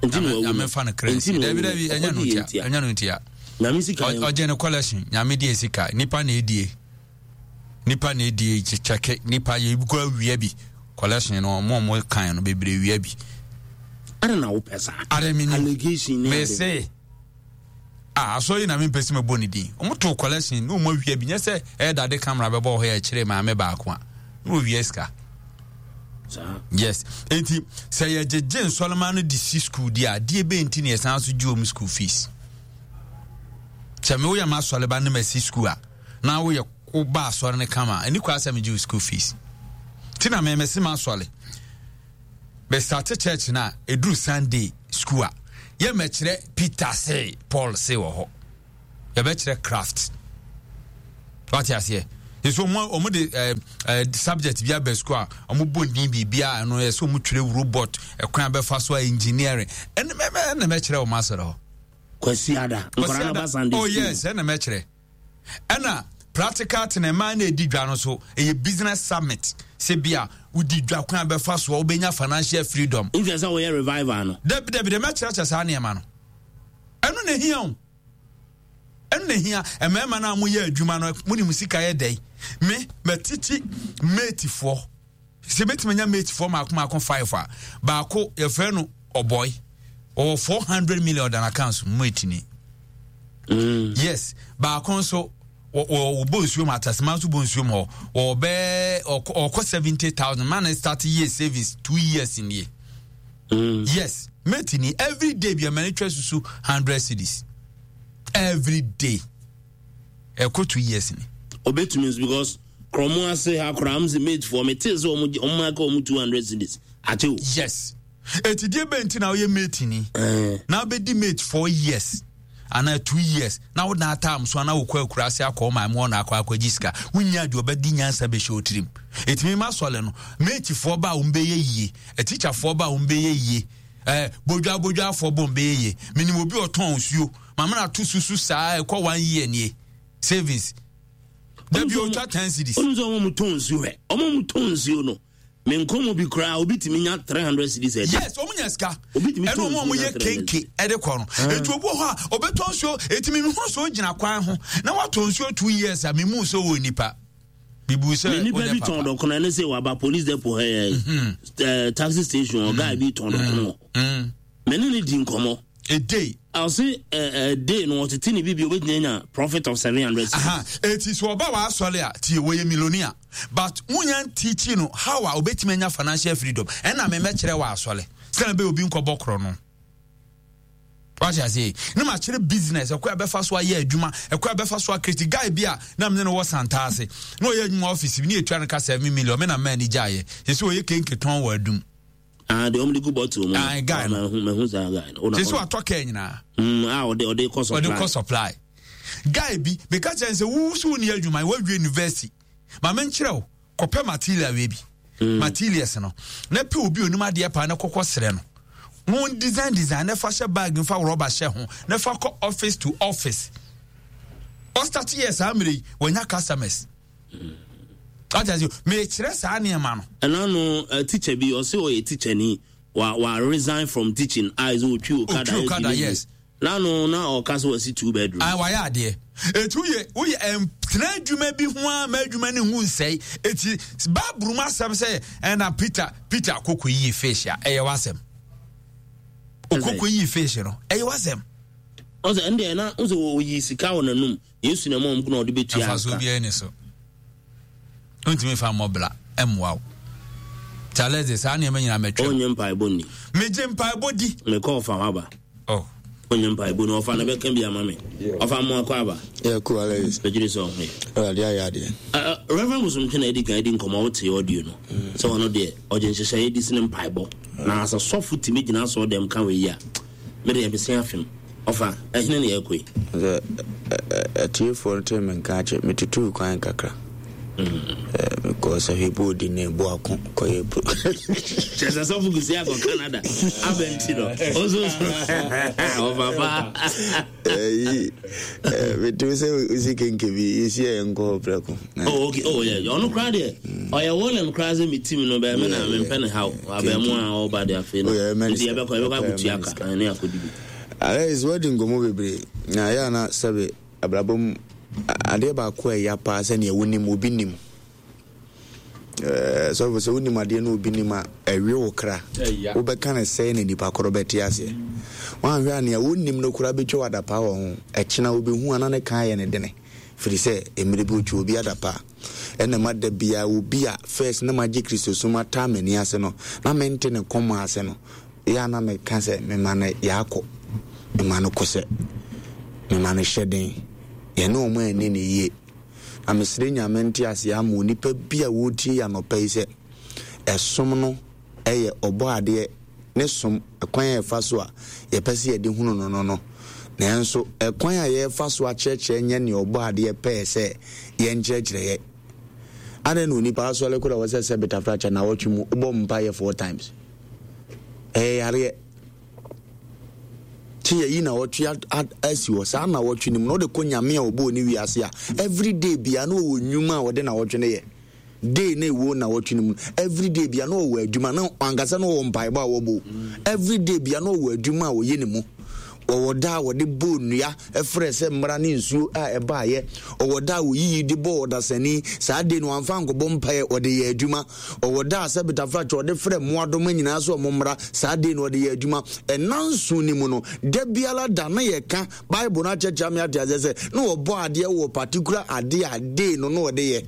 nti na wawu nyame fa no kra nsi dabi dabi ɛnyɛ no ntia ɛnyɛ no ntia nyame sika yɛ ɔgye ne collection nyame die sika nipa na edie nipa na edie kyɛkɛ nipa yɛ kɔ awia bi collection no ɔmo ɔmo kan no bebree wia bi ada na wopɛ saa ada mi ni allegation ne ade mese Ah, asɔre yi na mempɛ sɛ mɛbɔ ne din. Wɔn too collection na wɔn awia bi. Nyɛ sɛ ɛyɛ dade camera bɛbɔ hɔ yɛ kyerɛ maame baako a. Na wɔwia sika. Yes. Enti sɛ yɛgyegye nsɔlema no de si school di a, deɛ bɛn nti na yɛsan so gye wɔn school fees? Sɛ me woyɛ m'asɔreba ne masi school a, na woyɛ woba asɔre no kama a, ɛni kwa sɛ megye wo school fees. Ti na mɛmɛsi m'asɔre. Bɛ starte church no a ɛduru Sunday school a yɛ mɛkyerɛ Peter se Paul se wɔ hɔ yɛbɛkyerɛ craft wate aseɛ nso ɔmo ɔmo de ɛɛ eh, ɛɛ eh, subject bi aba school a ɔmo bɔ ndin biribi a ɛno yɛ sɛ ɔmo twerɛ robot ɛkwan abɛfa so a engineering ɛna mɛ ɛna mɛkyerɛ ɔmo asɔrɔ hɔ. Kwasi ada nkɔla na ba Sunday oh yes ɛna mɛkyerɛ. Ɛna practical tena mmaa na edi dwa no so ɛyɛ business summit sɛ bi a wodi dwa kwan bɛfa soɔ wobɛnya financial freedom. Nti sɛ wɔyɛ revival no. Dabi dabi dɛ mɛkyerɛkyerɛ saa nneɛma no ɛno na ehia o ɛno na ehia mmarima no a moyɛ adwuma no mo ne mo sika yɛ dɛn me mɛtete matefoɔ. Sɛ mɛtumi anya matefoɔ maako maako five a, baako yɛfrɛ no ɔbɔe ɔwɔ 400 million ɔda n'account mu mateni mm. yes baako nso wɔbɔ nsuo mu atasema nso bɔ nsuo mu hɔ wɔbɛɛ ɔkɔ 70000 man start year savings two years nie. Yes, mate ni every day bi ɛma ne twa susu 100 cedis every day. Ɛkɔ 2 years ni. Obetumi nso because krɔmo ase ha koraa m sɛ mate foɔ metee sɛ ɔmo aka ɔmo 200 cedis akyɛ o. Yes, eti deɛ bɛn ti na ɔyɛ mate ni na abɛdi mate 4 years anaa 2 years na wo dan atam so anaa wokɔ akura ase akɔ ɔman mu ɔna akɔgye sika, wonya deɛ ɔbɛdi nyansa bɛhyɛ otirim. Ɛtumi ma sɔle no matefoɔ ba a wɔn bɛyɛ yie, atikyafoɔ ba a wɔn bɛyɛ yie, bodwa bodwafoɔ bɔ wɔn bɛyɛ yie. Menim obi a ɔtɔn nsuo, maame na ato susu saa ɛkɔ one year nie, savings dabi otwa 10 cedis. Ɔno sɛ ɔmo mu tɔn nsuo hɛ, ɔmo mu tɔn nsuo no, me nkɔmɔ bi koraa obi tumi nya 300 cedis ɛdi. Yes, ɔmo nya sika. Obi tumi ɛna tɔn ɔmo a nsuo ɔmo nya yɛ 300 kenke ɛde kɔ no, etu obi wɔ hɔ a ɔbɛtɔ nsuo, eti mi hu so gyina kwan ho na watɔ nsuo 2 years a, mi mu so wɔ nipa bibu sɛ Me nipa ɔnyɛ bi tɔn papa. dɔkono ɛne sɛ waba police depot ha yɛ taxi station ɔguy bi tɔn dɔkono hɔ. Me ne ne di nkɔmɔ. A day. Ɔse day no ɔtete ne bibi obetumi anya profit of 700 cedis. Aha, eti so ɔba wa asɔre a, tie, wɔyɛ millionaire, but wunya ntiikyi no how a obetumi anya financial freedom. Ɛna me mɛkyerɛ wɔ asɔre sɛnɛ bɛyɛ obi nkɔbɔ korɔ no. Wate ase ne ma kyerɛ business ɛkɔ a bɛfa so ayɛ adwuma, ɛkɔ a bɛfa so akreti. Guy bi a na mene no wɔ Santa ase na ɔyɛ adwuma office bi ne yɛtua no ka 7 million, me na mmaa ani gyaeɛ. Yɛsɛ ɔyɛ kenke tɔn wɔ Adum. Ah, deɛ ɔmo de gu bottle mu no. Ah, guy no. Ah, mahu mahu saa guy no. Sɛ sɛ watɔ kaa nyinaa. A ɔde kɔ supply. Ɔde kɔ supply. Guy bi meka kyerɛ no sɛ wo so wonni adwuma, woawie university, ma menkyerɛ wo, kɔpɛ material wei bi, materials no, na pɛ obi onim adeɛ paa na kɔkɔ serɛ no mo design design na fa hyɛ bag, mfa rɔba hyɛ ho na fa kɔ office to office. Ɔstart yɛ saa mmerɛ yi wɔnya customers. Ɔte ase, mekyerɛ saa nneɛma no. Ɛna no teacher bi ɔsɛ ɔyɛ teacher ni wa resign from teaching a ɛsɛ otwi okada. Otwi okada, yes. Na no na ɔka sɛ wasi two bedroom. Ah, wayɛ adeɛ. Eti woyɛ ɛntena adwuma bi ho a ma adwuma ne ho nsɛe. Eti baaburu mu asɛm sɛ ɛna Peter koko yi fish a, ɛyɛ w'asɛm. Okoko yi fish no, ɛyɛ w'asɛm. Ɔsɛ ɛndeɛ na ɔsɛ oyi sika wɔ n'anum, Yesu na ɛma ɔmo na ɔde bɛtua Ɛfa so aka. Obiara ni so. Ntumi fa mmɔ bla ɛmmoa wo. Charles de saa nneɛma nyinaa mɛtwam. Ɔnyɛ mpaebɔ ni. Megye mpaebɔ di. Mekɔ ɔfa hɔ aba. Oh. Ɔnyɛ mpaebɔ ni, ɔfa na bɛka bi ama me. Ɔfa mmoa kɔ aba. Yeah, cool, Alex. Bɛgyere sɛ ɔho yɛ. Awurade ayɛ adeɛ. Reverend Bosomtwe na adi kan adi nkɔmmɔ, wote audio no. Sɛ ɔno deɛ ɔgye nhyehyɛeɛ di sene mpaebɔ. Na sɛ sɔfo tumi gyina asɔre dɛm ka wei yi a, me deɛ mese afem. Ɔfa, ɛhene ne yɛkɔ yi? Sɛ atiefoɔ no tee me nka akyɛ, metutuu kwan kakra. Mekɔɔ sɛ hwebɔɔdi ne boako kɔyɛ pro. Kyerɛ sɛ sɔfo Kusi akɔ Canada abɛnti no. Ɔnso ɔfa paa. Ɛyi, metumi sɛ wosi kenke bi, yɛsi a yɛnkɔ hɔ prɛko. Oh, okay. Oh, yeah. Ɔno koraa deɛ, ɔyɛ wɔlɛm koraa sɛ me team no bɛɛ me na mempɛ ne haw. Abɛn mu a ɔba de afei no. Nti yɛbɛkɔ akɔtua ka ne akɔdi bi. Alex, woadi nkɔmmɔ bebree na ɛyɛ a na sɛbe abrabɔ mu adeɛ baako a ɛya paa sɛnea wonim obi nim. Sɔfo, sɛ wonim adeɛ na obi nim a, ɛwe wo kra. Wobɛka no sɛe na nipa korɔ bɛte aseɛ. Woanhwɛ a nea wonim no koraa bɛtwa wo adapaa wɔ ho. Ɛkyena wobɛhu a na ne ka ayɛ ne dene. Firi sɛ mmerɛ bi ɔtwa obi adapaa. Ɛna ma da biara obi a first na magye Kristosom ataa m'ani ase no, na mente ne kɔm ase no, yɛ a na meka sɛ mema no yaakɔ, mema no kosɛ, mema no hyɛden. Yɛne wɔn anni no yie. Na mesrɛ Nyame nteaseɛ ama onipa bi a ɔretie yi anɔpa yi sɛ, ɛsom no yɛ Ɔbɔadeɛ ne som, ɛkwan a yɛfa so a yɛpɛ sɛ yɛde hunu no no no. Nanso ɛkwan a yɛrefa so akyerɛkyerɛ nyɛ nea Ɔbɔadeɛ pɛɛ sɛ yɛnkyerɛkyerɛ yɛ. Adɛn na onipa asɔre koro a ɛwɔ sɛ sɛ betafrakyɛ nnawɔtwe mu wobɔ mpaeɛ four times? Ɛyɛ yareɛ. Kye yɛyi nnawɔtwe asi hɔ. Saa nnawɔtwe no mu na wode kɔ Nyame a ɔbɔɔ ne wiase a every day bia na ɔwɔ nnwuma a ɔde nnawɔtwe no yɛ. Day na ɛwɔ nnawɔtwe no mu every day bia na ɔwɔ adwuma na ankasa na ɔwɔ mpaebɔ a wɔbɔ. Every day bia na ɔwɔ adwuma a ɔyɛ ne mu. Ɔwɔ da a wɔde bɔɔ nnua frɛ sɛ mmara ne nsuo a ɛbaeɛ. Ɔwɔ da a wɔyiyi de bɔɔ ɔdasani. Saa day no wamfa ankɔbɔ mpaeɛ, ɔde yɛ adwuma. Ɔwɔ da a sɛ betafrakyɛ ɔde frɛ mmoadoma nyinaa sɛ wɔn mmra. Saa day no ɔde yɛ adwuma. Ɛnna nson no mu no, da biara da na yɛka Bible no akyerɛkyerɛ me ate aseɛ sɛ na ɔbɔ adeɛ wɔ particular adeɛ a day no na ɔde yɛ.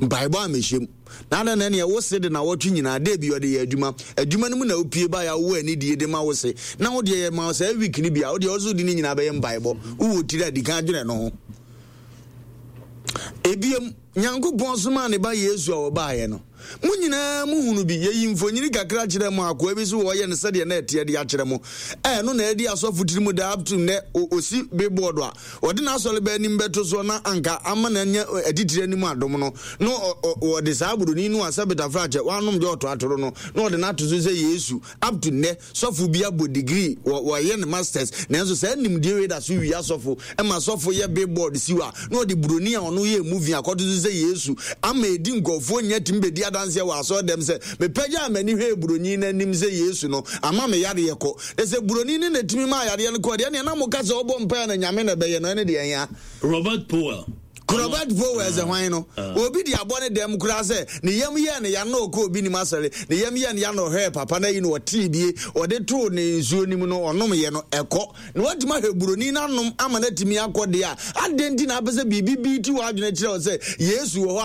Mpaebɔ a mehyɛ mu. Na adɛn na ɛneɛ wo se de nawɔtwe nyinaa dɛ bi ɔde yɛ adwuma. Adwuma no mu na wopie baeɛ a wowɔ anidie de ma wo se. Na wo deɛ yɛma wo saa week no bi a, wo deɛ wo so wode ne nyinaa bɛyɛ mpaebɔ. Wowɔ tiri a, di kan dwene no ho. Ebiem, Nyankopɔn somaa ne ba Yesu a ɔbaeɛ no. Mo nyinaa mohunu bi. Yɛyi mfonini kakra kyerɛɛ mo, akoa bi so wɔyɛ no sɛdeɛ na ɛteɛ de akyerɛ mo. Ɛno na adi asɔfo tirim daa up to nnɛ. Ɔsi billboard a ɔde n'asɔreba anim bɛto soɔ na anka ama no anya atitire anim adom no, na ɔde saa buroni no a sɛ betafrakyɛ wanom dwɔɔto atoro no, na ɔde no ato so sɛ Yesu. Up to nnɛ, sɔfo bi abɔ degree, wɔayɛ no masters, nanso saa nimdeɛ wei da so wia sɔfo, ɛma sɔfo yɛ billboard si hɔ a, na ɔde buroni a ɔno yɛɛ movie akɔto so sɛ Yesu, ama edi nkurɔfoɔ nya tumi bɛdi adanseɛ wɔ asɔre dɛm sɛ, mepagyaa m'ani hwɛɛ buroni no anim sɛ Yesu no, ama me yareɛ kɔ. Na sɛ buroni no na ɛtumi maa yareɛ no kɔɔ deɛ, ɛneɛ na moka sɛ ɔbɔ mpaeɛ na Nyame na ɛbɛyɛ no, ɛne deɛ ɛnhia. Robert Powell. Robert Powell sɛ hwan no? Obi de abɔ ne dɛm koraa sɛ ne yam yɛɛ no ya na ɔkɔ obi nim asɔre, ne yam yɛɛ no ya na ɔhwɛɛ papa no ayi no ɔtee bie, ɔde too ne nsuo no mu no ɔnomyɛ no ɛkɔ. Na watumi ahwɛ buroni no anom ama no atumi akɔ deɛ a, adɛn nti na apɛ sɛ biribi bi ti w'adwene kyerɛ wo sɛ Yesu wɔ hɔ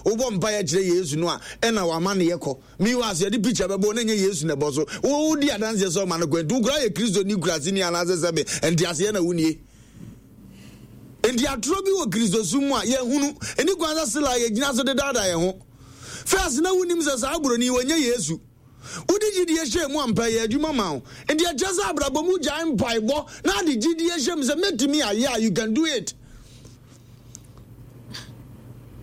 a wobɔ mpaeɛ kyerɛ Yesu no a ɛna wama no yɛ kɔ? Meanwhile, sɛ yɛde picture bɛbɔ na ɛnyɛ Yesu na ɛbɔ so. Wodi adanseɛ sɛ ɔma no kɔ nti wo koraa yɛ Kristoni kuraseni anaasɛ sɛbe nteaseɛ na wonie. Enti atorɔ bi wɔ Kristosom mu a yɛhunu. Ɛni kwan sɛ sela a yɛgyina so de daadaa yɛn ho. First, na wonim sɛ saa buroni yi ɔnyɛ Yesu. Wode gyidie hyɛɛ mu ampa, ɛyɛɛ adwuma maa wo. Enti ɛkyerɛ sɛ abrabɔ mu gyae mpaebɔ na ade gyidie hyɛ mu sɛ mɛtumi ayɛ a, you can do it.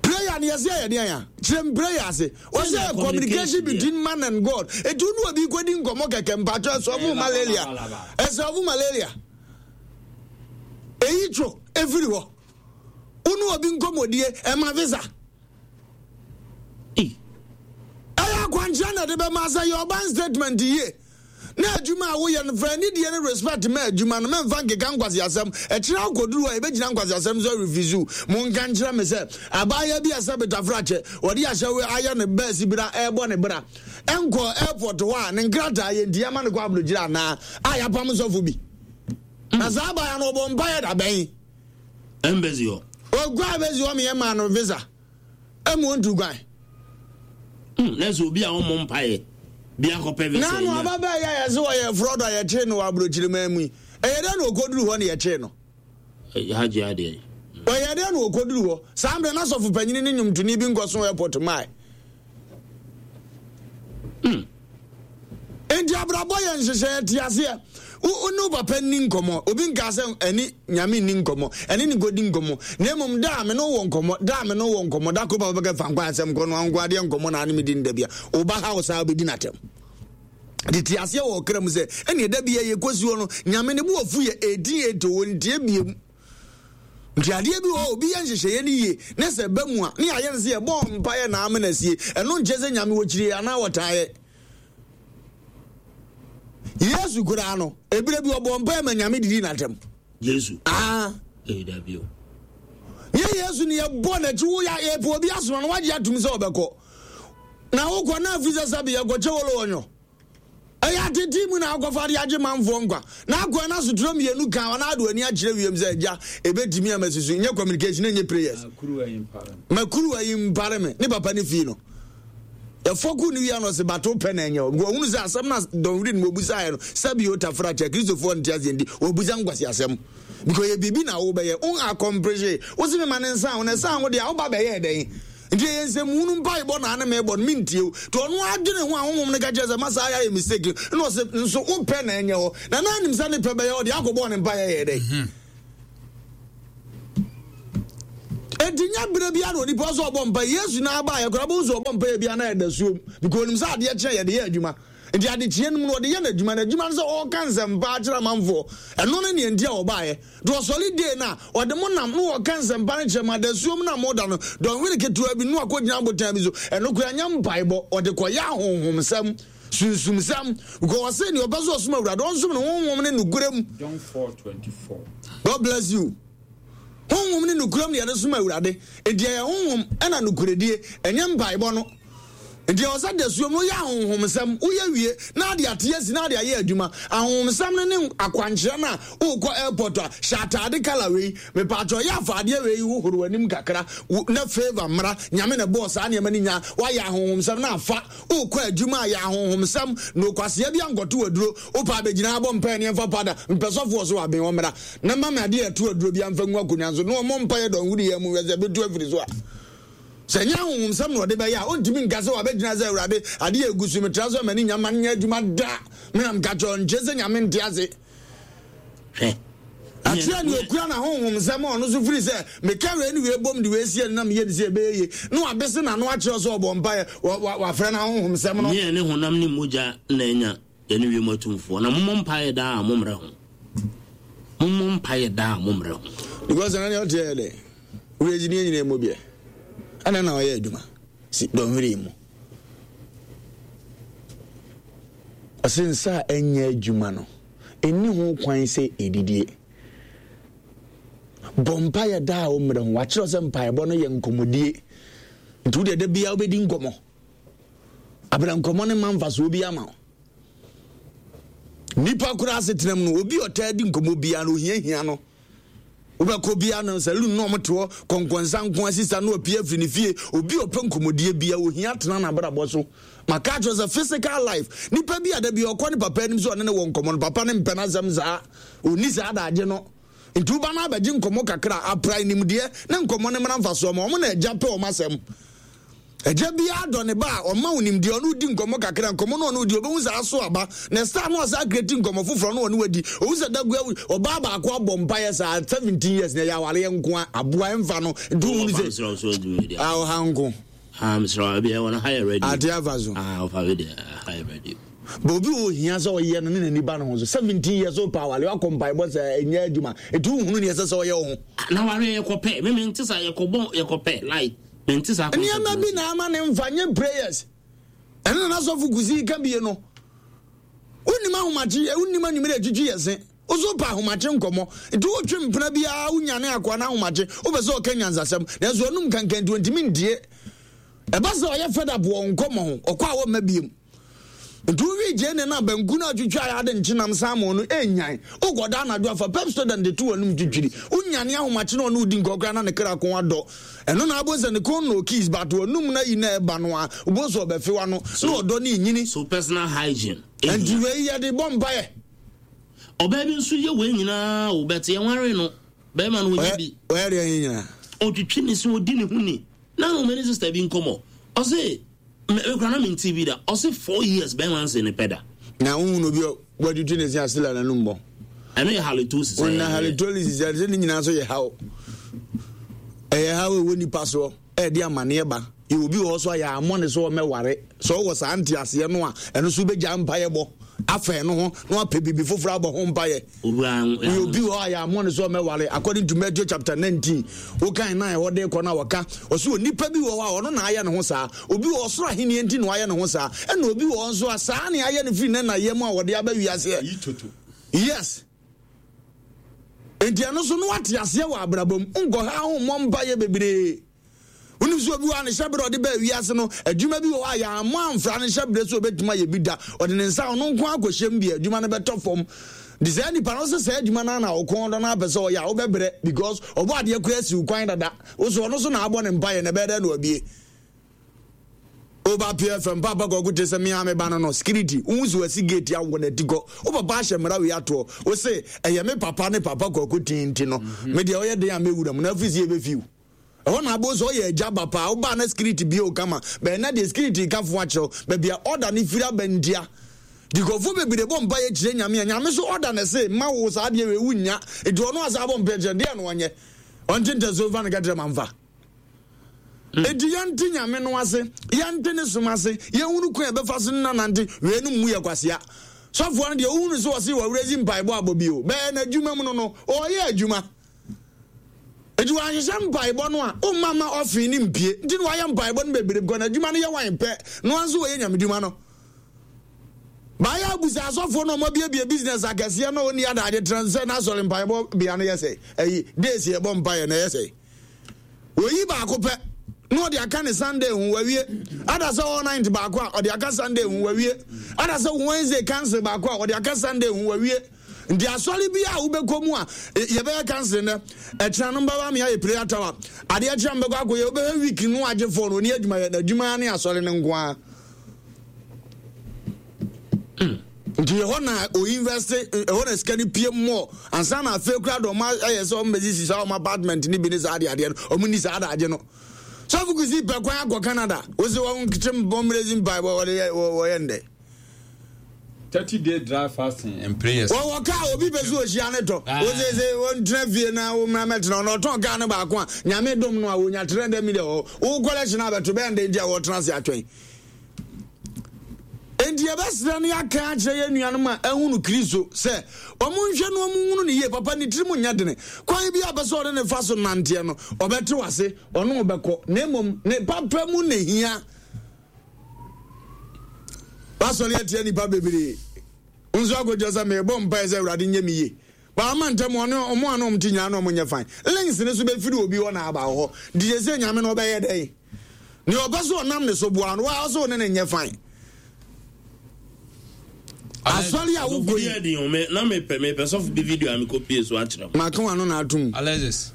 Prayer no yɛsɛ yɛ deɛn a? Kyerɛ me prayer ase. Wɔsɛ communication between man and God. Enti wo ne obi kɔdi nkɔmmɔ kɛkɛ mpakyɛ ɛsɔfo malaria. Ɛsɔfo malaria. Eyi two efiri hɔ. Wo ne obi nkɔmmɔdie ɛma visa. Ɛyɛ akwankyerɛ na ɛde bɛma sɛ yɛ ɔban statement yie. Na adwuma a woyɛ no fa anidie ne respect ma adwuma no mɛmfa nkeka nkwaseasɛm. Ɛkyerɛ wokɔduru hɔ a yɛbɛgyina nkwaseasɛm so arefuse. Monka nkyerɛ me sɛ abaayewa bi a sɛ betafrakyɛ wɔde ahyɛ ayɛ ne bɛɛsi bra ɛrebɔ ne bra ɛnkɔɔ airport hɔ a ne nkrataa yɛ nti yɛma no kɔ abrokyire anaa a yɛapam sɔfo bi na saa abaayewa no ɔbɔ mpaeɛ da bɛn embassy hɔ ɔkɔ embassy hɔ meyɛ maa no visa ɛmu ɔntu kwan hmm, na sɛ obi a ɔmmɔ mpaeɛ bi akɔpɛ visa na no ababaa yɛ a yɛse ɔyɛ fraud a yɛkyee no wɔ abrokyire man mu yi ɛyɛ dɛn na ɔkɔduru hɔ na yɛkyee no Hajji adeɛ. Ɔyɛɛ dɛn na ɔkɔduru hɔ? Saa mmerɛ no asɔfo panyini ne nnwomtoni bi nkɔso airport mmae. Hmm. Enti abrabɔ yɛ nhyehyɛeɛ te aseɛ. Wo ne wo papa nni nkɔmmɔ. Obi nkaa sɛ ɛne nyame nni nkɔmmɔ, ɛne ne kɔdi nkɔmmɔ. Na mmom da a me ne wo wɔ nkɔmmɔ, da a me ne wo wɔ nkɔmmɔ, da koro papa bɛka fa nkwa asɛm korɔ no anko adeɛ nkɔmmɔ na ane me di no da bia. Wo ba ha wo saa wobɛdi n'atɛm. de te aseɛ wɔ ɔkra mu sɛ ɛneɛ da bia yɛkɔsi hɔ no nyame ne bo afu yɛ 1880 ɔntie biam nti adeɛ bi wɔ obi yɛ nhyehyɛeɛ no yie ne sɛ ba mu a ne yɛayɛ no sɛ yɛbɔɔ mpaeɛ na amena sie ɛno nkyɛ sɛ nyame wɔkyirie anaa wɔtaeɛ yesu koraa no ebire bi ɔbɔɔ mpaeɛ ma nyame didi n'atɛm yesu ah yɛ yesu ne yɛbɔ n'akyi wo yɛpɛ obi asoma no wagye atom sɛ ɔbɛkɔ Na wokɔ na afi sɛ sɛbe yɛkɔkyɛ wolo ɔnyɔ. Ɛyɛ atete mu na akɔfa de agye manfoɔ nkwa. Na akɔɛ na sotorɔ mmienu ka ɔna ade w'ani akyerɛ wiem sɛ agya ɛbɛtumi ama susu nyɛ communication ɛnyɛ prayers. Ma kuruwa yi mpare me ne papa ne fii no. Yɛfɔku ne wia no ɔse bato pɛ na ɛnyɛ hɔ. Because ɔhunu sɛ asɛm na dɔnhwere no wɔbusaeɛ no sɛbe o tafra kyɛ Kristofoɔ nte aseɛ nti wɔbusa nkwasi asɛm. Because yɛ biribi na wobɛyɛ wo accomplish wo se mema ne nsa ho na ɛsan ho deɛ a woba bɛyɛɛ dɛn? Nti ɛyɛ nsɛmhunu mpaebɔ na ane mebɔ no mentie wo. Nti ɔno adwene ho a honhom no ka kyerɛ sɛ masa ayɛ ayɛ mistake no na ɔse nso wo pɛ na ɛnyɛ hɔ na na anim sɛ ne pɛ bɛyɛ hɔ deɛ akɔbɔɔ ne mpaeɛ yɛ dɛn? Mhm. Enti nyɛ berɛ biara na onipa sɛ ɔbɔ mpaeɛ. Yesu na aba a yɛkora bɛhu sɛ ɔbɔ mpaeɛ biara na ɛda suom because onim sɛ adeɛ kye a yɛde yɛ adwuma. Nti adekyeɛ no mu no ɔde yɛ n'adwuma. N'adwuma no sɛ ɔreka nsɛmpa akyerɛ amanfoɔ. Ɛno ne neɛ nti a ɔbaeɛ. Nti ɔsɔre dee no a, ɔde mo nam na ɔka nsɛmpa no kyerɛ mo. Adasuom no a moda no, dɔnhwere ketewa bi no akɔgyina abotan bi so. Ɛno koraa nyɛ mpaebɔ. Ɔde kɔyɛ ahonhomsɛm, sunsumsɛm. Because ɔse deɛ ɔpɛ sɛ ɔsom Awurade, ɔnsom no honhom ne nokorɛ mu. John 4:24. God bless you. Honhom ne nokorɛm na yɛde som Awurade. Enti ɛyɛ honhom ɛna nokorɛdie, ɛnyɛ mpaebɔ no. Nti ɛwɔ sɛ dasuom no woyɛ ahonhomsɛm, woyɛ wie na ade ate asi na ade ayɛ adwuma. Ahonhomsɛm no ne akwankyerɛ no a wokɔ airport a hyɛ ataade colour wei, mepaakyɛw yɛ afaadeɛ wei hohoro w'anim kakra na favour mmra, Nyame na ɛbɔɔ saa nneɛma no nyinaa, woayɛ ahonhomsɛm na afa, wokɔ adwuma a yɛ ahonhomsɛm na okwasea bi ankɔto aduro, wopɛ a bɛgyina ha bɔ mpaeɛ ne yɛmfa powder, mepɛ sɔfoɔ so aben ɔmmra na ma me adeɛ a ɛto aduro bi amfa ngu akonnwa so na ɔmmɔ mpaeɛ dɔnhwere yi mu hwɛ sɛ ɛbɛtu afiri so a. Sɛ ɛnyɛ ahonhomsɛm na ɔde bɛyɛ a, ɔntumi nka sɛ wabɛgyina sɛ Awurade, adeɛ a ɛgu so yi, metra so a m'ani nnya mma no nyɛ adwuma da. Me na meka kyerɛ wo, nkyerɛ sɛ Nyame nte ase. Hwɛ. Akyerɛ nea okura n'ahonhomsɛm a ɔno nso firi sɛ meka wei ne wei bom de wei si ani na meyɛ ne sɛ ɛbɛyɛ yie na wabese n'ano akyerɛ sɛ ɔbɔ mpaeɛ, wafrɛ n'ahonhomsɛm no. Nyɛ ne honam ne mogya na anya yɛne wiem atumfoɔ, na mommɔ mpaeɛ daa a mommrɛ ho. Mommɔ mpaeɛ daa a mommrɛ ho. Because ɛna deɛ ɔteɛ yɛ dɛ wura ne nyina mu biɛ ɛna na ɔyɛ adwuma si dɔnhwere mu ɔse nsa a ɛnyɛ adwuma no ɛnni ho kwan sɛ ɛdidie bɔ mpaeɛ daa a wommrɛ ho wakyerɛ sɛ mpaebɔ no yɛ nkɔmmɔdie nti wodeɛ da biara wobɛdi nkɔmmɔ Abena nkɔmmɔ no mma mfasoɔ bi ama wo. Nipa koraa asetenam no, obi ɔtaa di nkɔmmɔ biara no, ohiahia no. Wobɛkɔ biara no, saloon na ɔmote hɔ, kɔnkɔnsa nko asisa na wapue afiri ne fie. Obi ɔpɛ nkɔmmɔdie biara, ohia tena n'abrabɔ so. Maka akyerɛ sɛ physical life, nipa bi a da bi ɔkɔ ne papa anim sɛ ɔne ne wɔ nkɔmmɔ no, papa no mpɛ n'asɛm saa. Ɔnni saa adagye no. Nti woba no abɛgye nkɔmmɔ kakra, apra nimdeɛ ne nkɔmmɔ no mmra mfasoɔ ma wɔn na agya pɛ wɔn asɛm. Agya biara dɔ ne ba a, ɔma wo nimdeɛ, ɔne wo di nkɔmmɔ kakra, nkɔmmɔ no ɔne wo di, ɔbɛhu sɛ aso aba. Na ɛsɛ ano ɔsan akreti nkɔmmɔ foforɔ no ɔne wadi. Ɔhu sɛ dagu awu, ɔbaa baako abɔ mpaeɛ saa, 17 years na ɛyɛ awareɛ nko a, aboa ɛmfa no, nti wohunu sɛ, a ɔha nko. Ate afa so. But obi wɔ ohia sɛ ɔyɛ no ne n'ani ba ne ho so. 17 years old pa awale wakɔ mpaebɔ sɛ ɛnyɛ adwuma. Nti wohunu ne ɛsɛ sɛ ɔyɛ wo ho. Na wareɛ yɛkɔpɛ, me mente saa yɛkɔbɔ yɛkɔpɛ like. Nneɛma bi na ama ne mfa nye prayers. Ɛno na n'asɔfo kusi ka bie no. Wonim ahomakye, wonim anwummerɛ atwitwi yɛ se. Woso pa ahomakye nkɔmmɔ. Nti wotwe mpena biara wonyane akoa no ahomakye. Wopɛ sɛ ɔka nyansasɛm. Nanso ɔnum kankan nti ɔntumi ntie. Ɛba sɛ ɔyɛ fed up wɔ nkɔmmɔ ho, ɔkɔ a wɔmma biem. Nti wowie gyeene no a banku no a twitwa a ade nkyenam salmon no ɛnyan. Wokɔda anadwo afa Pepsodent de to w'anum twitwiri. Wonyane ahomakye na ɔne wodi nkɔ koraa na ne kra kɔn adɔ. Ɛno na abom sɛ ne kɔn nnɔ kiss but w'anum no ayi na ɛba no a wobɛhu sɛ ɔbɛfe w'ano na ɔdɔ no renyini. So personal hygiene hia. Nti wei yɛde bɔ mpaeɛ. Ɔbaa bi nso yɛ wei nyinaa o but yɛnwaree no. Bɛrima no ɔnyɛ bi. Ɔyɛ deɛ yɛ nyinaa. Ɔtwitwi ne se ɔdi ne ho ni. Na no me ne sister bi nkɔmmɔ. Ɔse Me me kora na me nti bi da. Ɔse 4 years bɛrima nse ne pɛ da. Na wohu obi a watwitwi ne se a still a n'anum bɔ. Ɛno yɛ halitosis. Ɔna halitosis ɛsɛ ne nyinaa nso yɛ haw. Ɛyɛ haw ɛwɔ nipa soɔ ɛde amaneɛ ba. Yɛ obi wɔ hɔ so a yɛ amɔ ne so ɔmɛware. Sɛ ɔwɔ saa nteaseɛ no a ɛno so wobɛgya mpaeɛ bɔ afa ɛno ho na wapɛ biribi foforɔ abɔ ho mpaeɛ. Woyɛ obi wɔ hɔ a yɛammɔ no sɛ ɔmmɛware according to Matthew chapter 19 wokan na ɛhɔ de kɔ no a wɔka ɔsɛ onipa bi wɔ hɔ a ɔno na ayɛ ne ho saa obi wɔ ɔsoro ahenni nti na wayɛ ne ho saa ɛna obi wɔ hɔ nso a saa ne ayɛ no firi ne na yam a wɔde aba wiaseɛ yes nti ɛno so no wate aseɛ wɔ abrabɔ mu nkɔha ho mmɔ mpayɛ bebree Wonim sɛ obi wɔ a ne hyɛberɛ a ɔde baa wiase no, adwuma bi wɔ hɔ a yɛammɔ amfra ne hyɛberɛ sɛ ɔbɛtumi ayɛ bi da. Ɔde ne nsa ɔno nko akɔhyɛ mu bi a, adwuma no bɛtɔ fam. Nti saa nipa no sɛ saa adwuma no na ɔkɔn dɔ no apɛ sɛ ɔyɛ a, wobɛbrɛ because ɔbɔ adeɛ koraa si wo kwan dada. Wo so ɔno so na abɔ ne mpaeɛ na ɛbɛyɛ dɛn na wabie. Woba PFM papa kɔko te sɛ mea me ba no no security wohu sɛ wasi gate awɔ n'ati kɔ wo papa ahyɛ mmara wei atoɔ wo se ɛyɛ me papa ne papa kɔko tin nti no me deɛ ɔyɛ den a mɛwura mu na afiri sɛ yɛbɛfiw Ɛhɔ na abom sɛ ɔyɛ agya ba paa wobaa na security bie wo kama bɛn na deɛ security ka fo akyerɛw baabi a order ne firi aba ntia nti nkurɔfoɔ bebree bɔ mpa yɛ kyerɛ nyame a nyame so order na ɛse ma wo saa deɛ wei wonnya nti ɔno asa abɔ mpa kyerɛ deɛ no ɔnyɛ ɔnte ntɛso mfa no kɛtrɛ ma mfa Enti yɛnte nyame no ase yɛnte ne som ase yɛhunu kwan a ɛbɛfa so ne nanante wei no mmu yɛ kwasea sɔfoɔ no deɛ wohunu sɛ ɔse wɔwerɛ mpaebɔ abɔ bio bɛyɛ n'adwuma mu no no ɔyɛ adwuma Enti wanhyehyɛ mpaebɔ no a, womma mma ɔfee no mpue. Nti na wayɛ mpaebɔ no bebree because n'adwuma no yɛ wan pɛ. No ara nso wɔyɛ nyamedwuma no. Baayɛ abusa asɔfoɔ no a wɔabiebie business akɛseɛ na ɔnni adagye tena sɛ n'asɔre mpaebɔ bea no yɛ sɛ ɛyi days yɛbɔ mpaeɛ na ɛyɛ sɛ wɔyi baako pɛ. Na ɔde aka ne Sunday ho wawie. Ada sɛ all night baako a ɔde aka Sunday ho wawie. Ada sɛ Wednesday council baako a ɔde aka Sunday ho wawie. Nti asɔre bi a wobɛkɔ mu a yɛbɛyɛ council nnɛ ɛkyena no mbɛba me ayɛ prayer tower adeɛ kyerɛ mbɛkɔ akɔyɛ wobɛhwɛ week no agye fɔ no ɔni adwuma yɛ n'adwuma ne asɔre no nko ara. Nti ɛhɔ na o invest ɛhɔ na sika no pie mmɔ ansa na afei kura de ɔmo ayɛ sɛ ɔmo bɛsisi saa ɔmo apartment ne bi ne saa adeɛ adeɛ no ɔmo ni saa adagye no sɔfo kusi pɛ kwan akɔ Canada wosi wɔn kyekyɛ wɔn mmerɛzi mpa wɔde yɛ wɔyɛ ndɛ. 30 day dry fasting and prayers. Wɔwɔ kaa obi pɛ sɛ ohyia ne tɔ. Wose sɛ wɔntena fie na wɔmmra mɛtena ɔno ɔtɔn kaa no baako a nyame dom no a wɔnya 300 million wɔ hɔ. Wo collection abɛto bɛyɛ ndɛ nti a wɔtena ase atwɛn. Enti yɛbɛsrɛ na yɛaka akyerɛ yɛn nuanom a ahunu Kristo sɛ wɔnhwɛ na wɔnhunu no yie. Papa, ne tirim nyɛ dene. Kwan bi a ɔpɛ sɛ ɔne ne fa so nanteɛ no, ɔbɛte w'ase, ɔne wo bɛkɔ, na mmom ne papa mu na ehia. Wasɔre atia nnipa bebree. Wo nso akɔgyina sɛ merebɔ mpaeɛ sɛ Awurade nyɛ me yie. Wama ntɛm ɔne ɔmo a na ɔmo te nyinaa na ɔmo nyɛ fine. Links no so bɛfiri obi hɔ na aba wo hɔ. Nti sɛsɛ Nyame no ɔbɛyɛ dɛn? Nea ɔpɛ sɛ ɔnam ne so boa no, waa ɔsɛ ɔne no nyɛ fine. Asɔre a wokɔ yi. Ɔsɔfo bi ɛdi na mepɛ mepɛ sɔfo bi video a mekɔ pie so akyerɛ mo. Maka wano na atum. Alexis.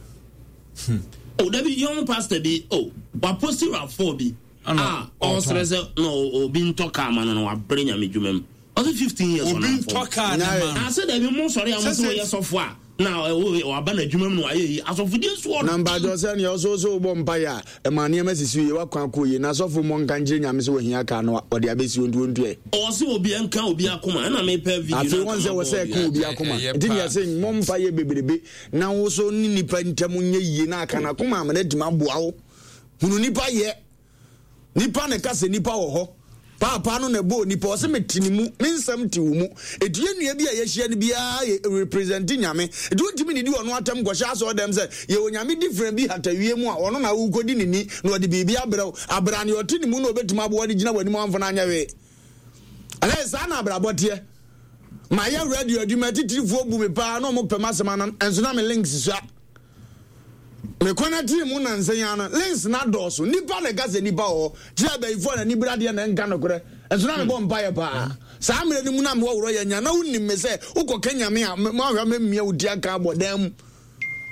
Hmm. Oh, dabi young pastor bi oh waposti rafoɔ bi a ɔsrɛ sɛ na obi ntɔ kaa ma no na wabrɛ nyame dwuma mu. Ɔsɛ 15 years Obi ntɔ kaa ne ma no. Ase dabi mo sɔre a mo sɛ ɔyɛ sɔfo a na waba n'adwuma mu na wayɛ yi asɔfodie so ɔden. Na mpakyɛw sɛ nea ɔsɛ ɔsɛ wobɔ mpaeɛ a ɛma nneɛma sisi yie wakwan akɔ yie na asɔfo mmɔ nka nkyerɛ nyame sɛ wahia kaa no ɔde abɛsi hɔ nti wɔntua ɛ. Ɔse obi nka obi akoma ɛna mepɛ video Afei wɔn sɛ wɔsɛ ɛka obi akoma nti nea sɛ mmɔ mpaeɛ bebrebe na wo so ne nipa ntam nyɛ yie na aka n'akoma ama no atumi aboa wo hunu nipa yɛ. Nipa na ɛka sɛ nipa wɔ hɔ. Paapaa no na ɛbɔɔ nipa. Ɔse mete ne mu, me nsɛm te wo mu. Eti yɛn nua bi a yɛahyia no biara yɛ represent Nyame. Eti wontumi nidi ɔno atɛm nkɔhyɛ asɔre dɛm sɛ yɛwɔ Nyame different bi hata wie mu a ɔno na wokɔdi ne ni na ɔde biribi abrɛ wo. Abra nea ɔte ne mu na ɔbɛtumi aboa no gyina w'anim amfa no anyɛ hwee. Ɛnɛ saa na abrabɔ teɛ. Mayɛ radio adwuma atitirifoɔ bu me paa na ɔmo pɛ m'asɛm anam ɛnso na me links sua. Me kɔnɛtee mu nansa yi ara no, links no adɔɔso. Nnipa na ɛka sɛ nnipa wɔ hɔ. Kyerɛ abayifoɔ a n'ani bere adeɛ na ɛnka nokorɛ. Nso na mebɔ mpaeɛ paa. Saa mmerɛ no mu na mewɔ worɔ yɛ nya. Na wonim me sɛ wokɔka Nyame a, moahwɛ a mɛmia wo ti aka abɔ dan mu.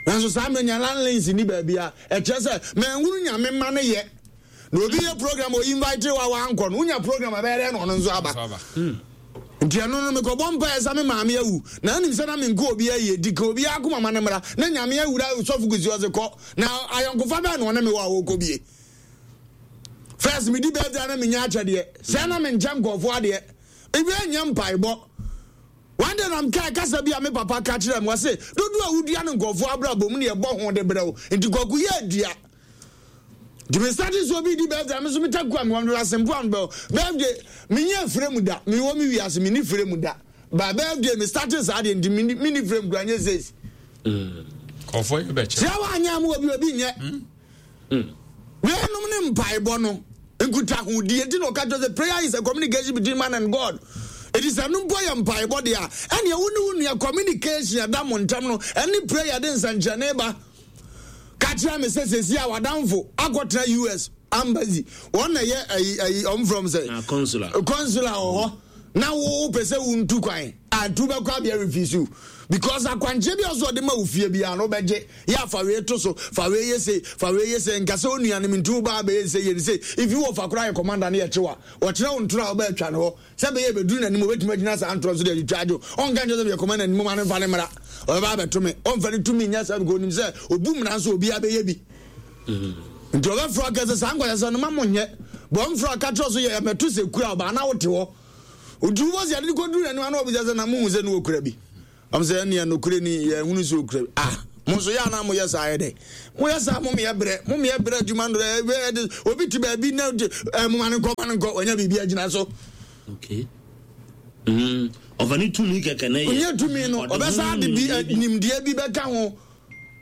Nanso saa mmerɛ nya na links nni baabia. Ɛkyerɛ sɛ manhunu Nyame mma no yɛ. Na obi yɛ program o invite wa wankɔ no, wonya program a ɛbɛyɛ dɛn na ɔno nso aba. Nti ɛno no mekɔbɔ mpaeɛ sɛ me maame awu na anim sɛ na menkɔ obi ayie di ka obi akoma ma no mmra na nyame awura sɔfo kusi ɔse kɔ na ayɔnkofa bɛɛ na ɔne me wɔ a wɔkɔ bie first medi birthday na menya akyɛdeɛ sɛ na menkyɛ nkɔɔfoɔ adeɛ ebi ɛnyɛ mpaebɔ one day na mekae kasa bi a me papa ka kyerɛ me wɔse dodoɔ a wodua no nkɔɔfoɔ abrabɔ mu ne ɛbɔ ho de brɛ wo nti kwaku yɛ adua Nti me start sɛ obi di birthday me nso me taku a me wɔn asempo a bɛ birthday me nyɛ frame mu da me wɔ me wiase me ni frame mu da ba birthday me start saa deɛ nti me me ni frame kura nyɛ six. Kɔfɔ yɛ bɛ kyerɛ. Sɛ wa nyɛ mu obi obi nyɛ. Wɛnum ne mpaebɔ no nkutahodie nti na ɔka kyerɛ sɛ prayer is a communication between man and God. Eti sɛ no mpo yɛ mpaebɔ deɛ a ɛnea wo ne wo nua communication ɛda mo ntam no ɛne prayer de nsɛnkyerɛnne ba. Ka kyerɛ me sɛ sɛsi a w'adamfo akɔtena US ambassy wɔn na yɛ ayi ayi ɔmo from sɛ ah, consular consular wɔ hɔ na wo pɛ sɛ wo ntu kwan a ntu bɛkɔ abea refuse you because akwankyerɛ bi a ɔsɛ ɔde ma wo fie biara no wobɛgye yɛ afa wei to so fa wei yɛ sei fa wei yɛ sei nka sɛ onua no nti wo ba abɛyɛ sɛ yɛ ne sei if you wɔ fa koraa yɛ commander no yɛ kyewa wɔkyerɛ wo ntoro a wobɛatwa no hɔ Sɛ ɛbɛyɛ ɛbɛduru n'anim, ɔbɛtumi agyina saa ntorɔ so de atwitwa agye wo. Ɔnka nkyerɛ sɛ meyɛ kɔma n'anim ma no mfa no mmra. Ɔbɛba abɛto me. Ɔmfa ne tumi nyɛ saa because ɔnim sɛ ɔbu mmara nso obiara bɛyɛ bi. Nti ɔbɛfrɛ aka sɛ saa nkwaseasɛm no ma monyɛ. Bɔ ɔmfrɛ aka kyerɛ so yɛ mɛto sɛ kura ɔbaa na wote hɔ. Nti wobɔ sɛ yɛde no kɔduru n'anim ana ɔbisa sɛ na mohu sɛ ne wɔkura bi. Ɔm sɛ ɛnneɛ nokorɛ ni yɛhunu sɛ ɔkura bi. Ah, mo nso yɛ anaa moyɛ saa yɛ dɛ? Moyɛ saa mo meyɛ brɛ, mo meyɛ brɛ adwuma no dɛ, obi te baabi na ɛ mo ma no nkɔ, ma no nkɔ, wanya biribi agyina so. Okay. Mm. Ɔfa ne tumi kɛkɛ na yɛ. Ɔnyɛ tumi no, ɔbɛsa de bi nimdeɛ bi bɛka ho.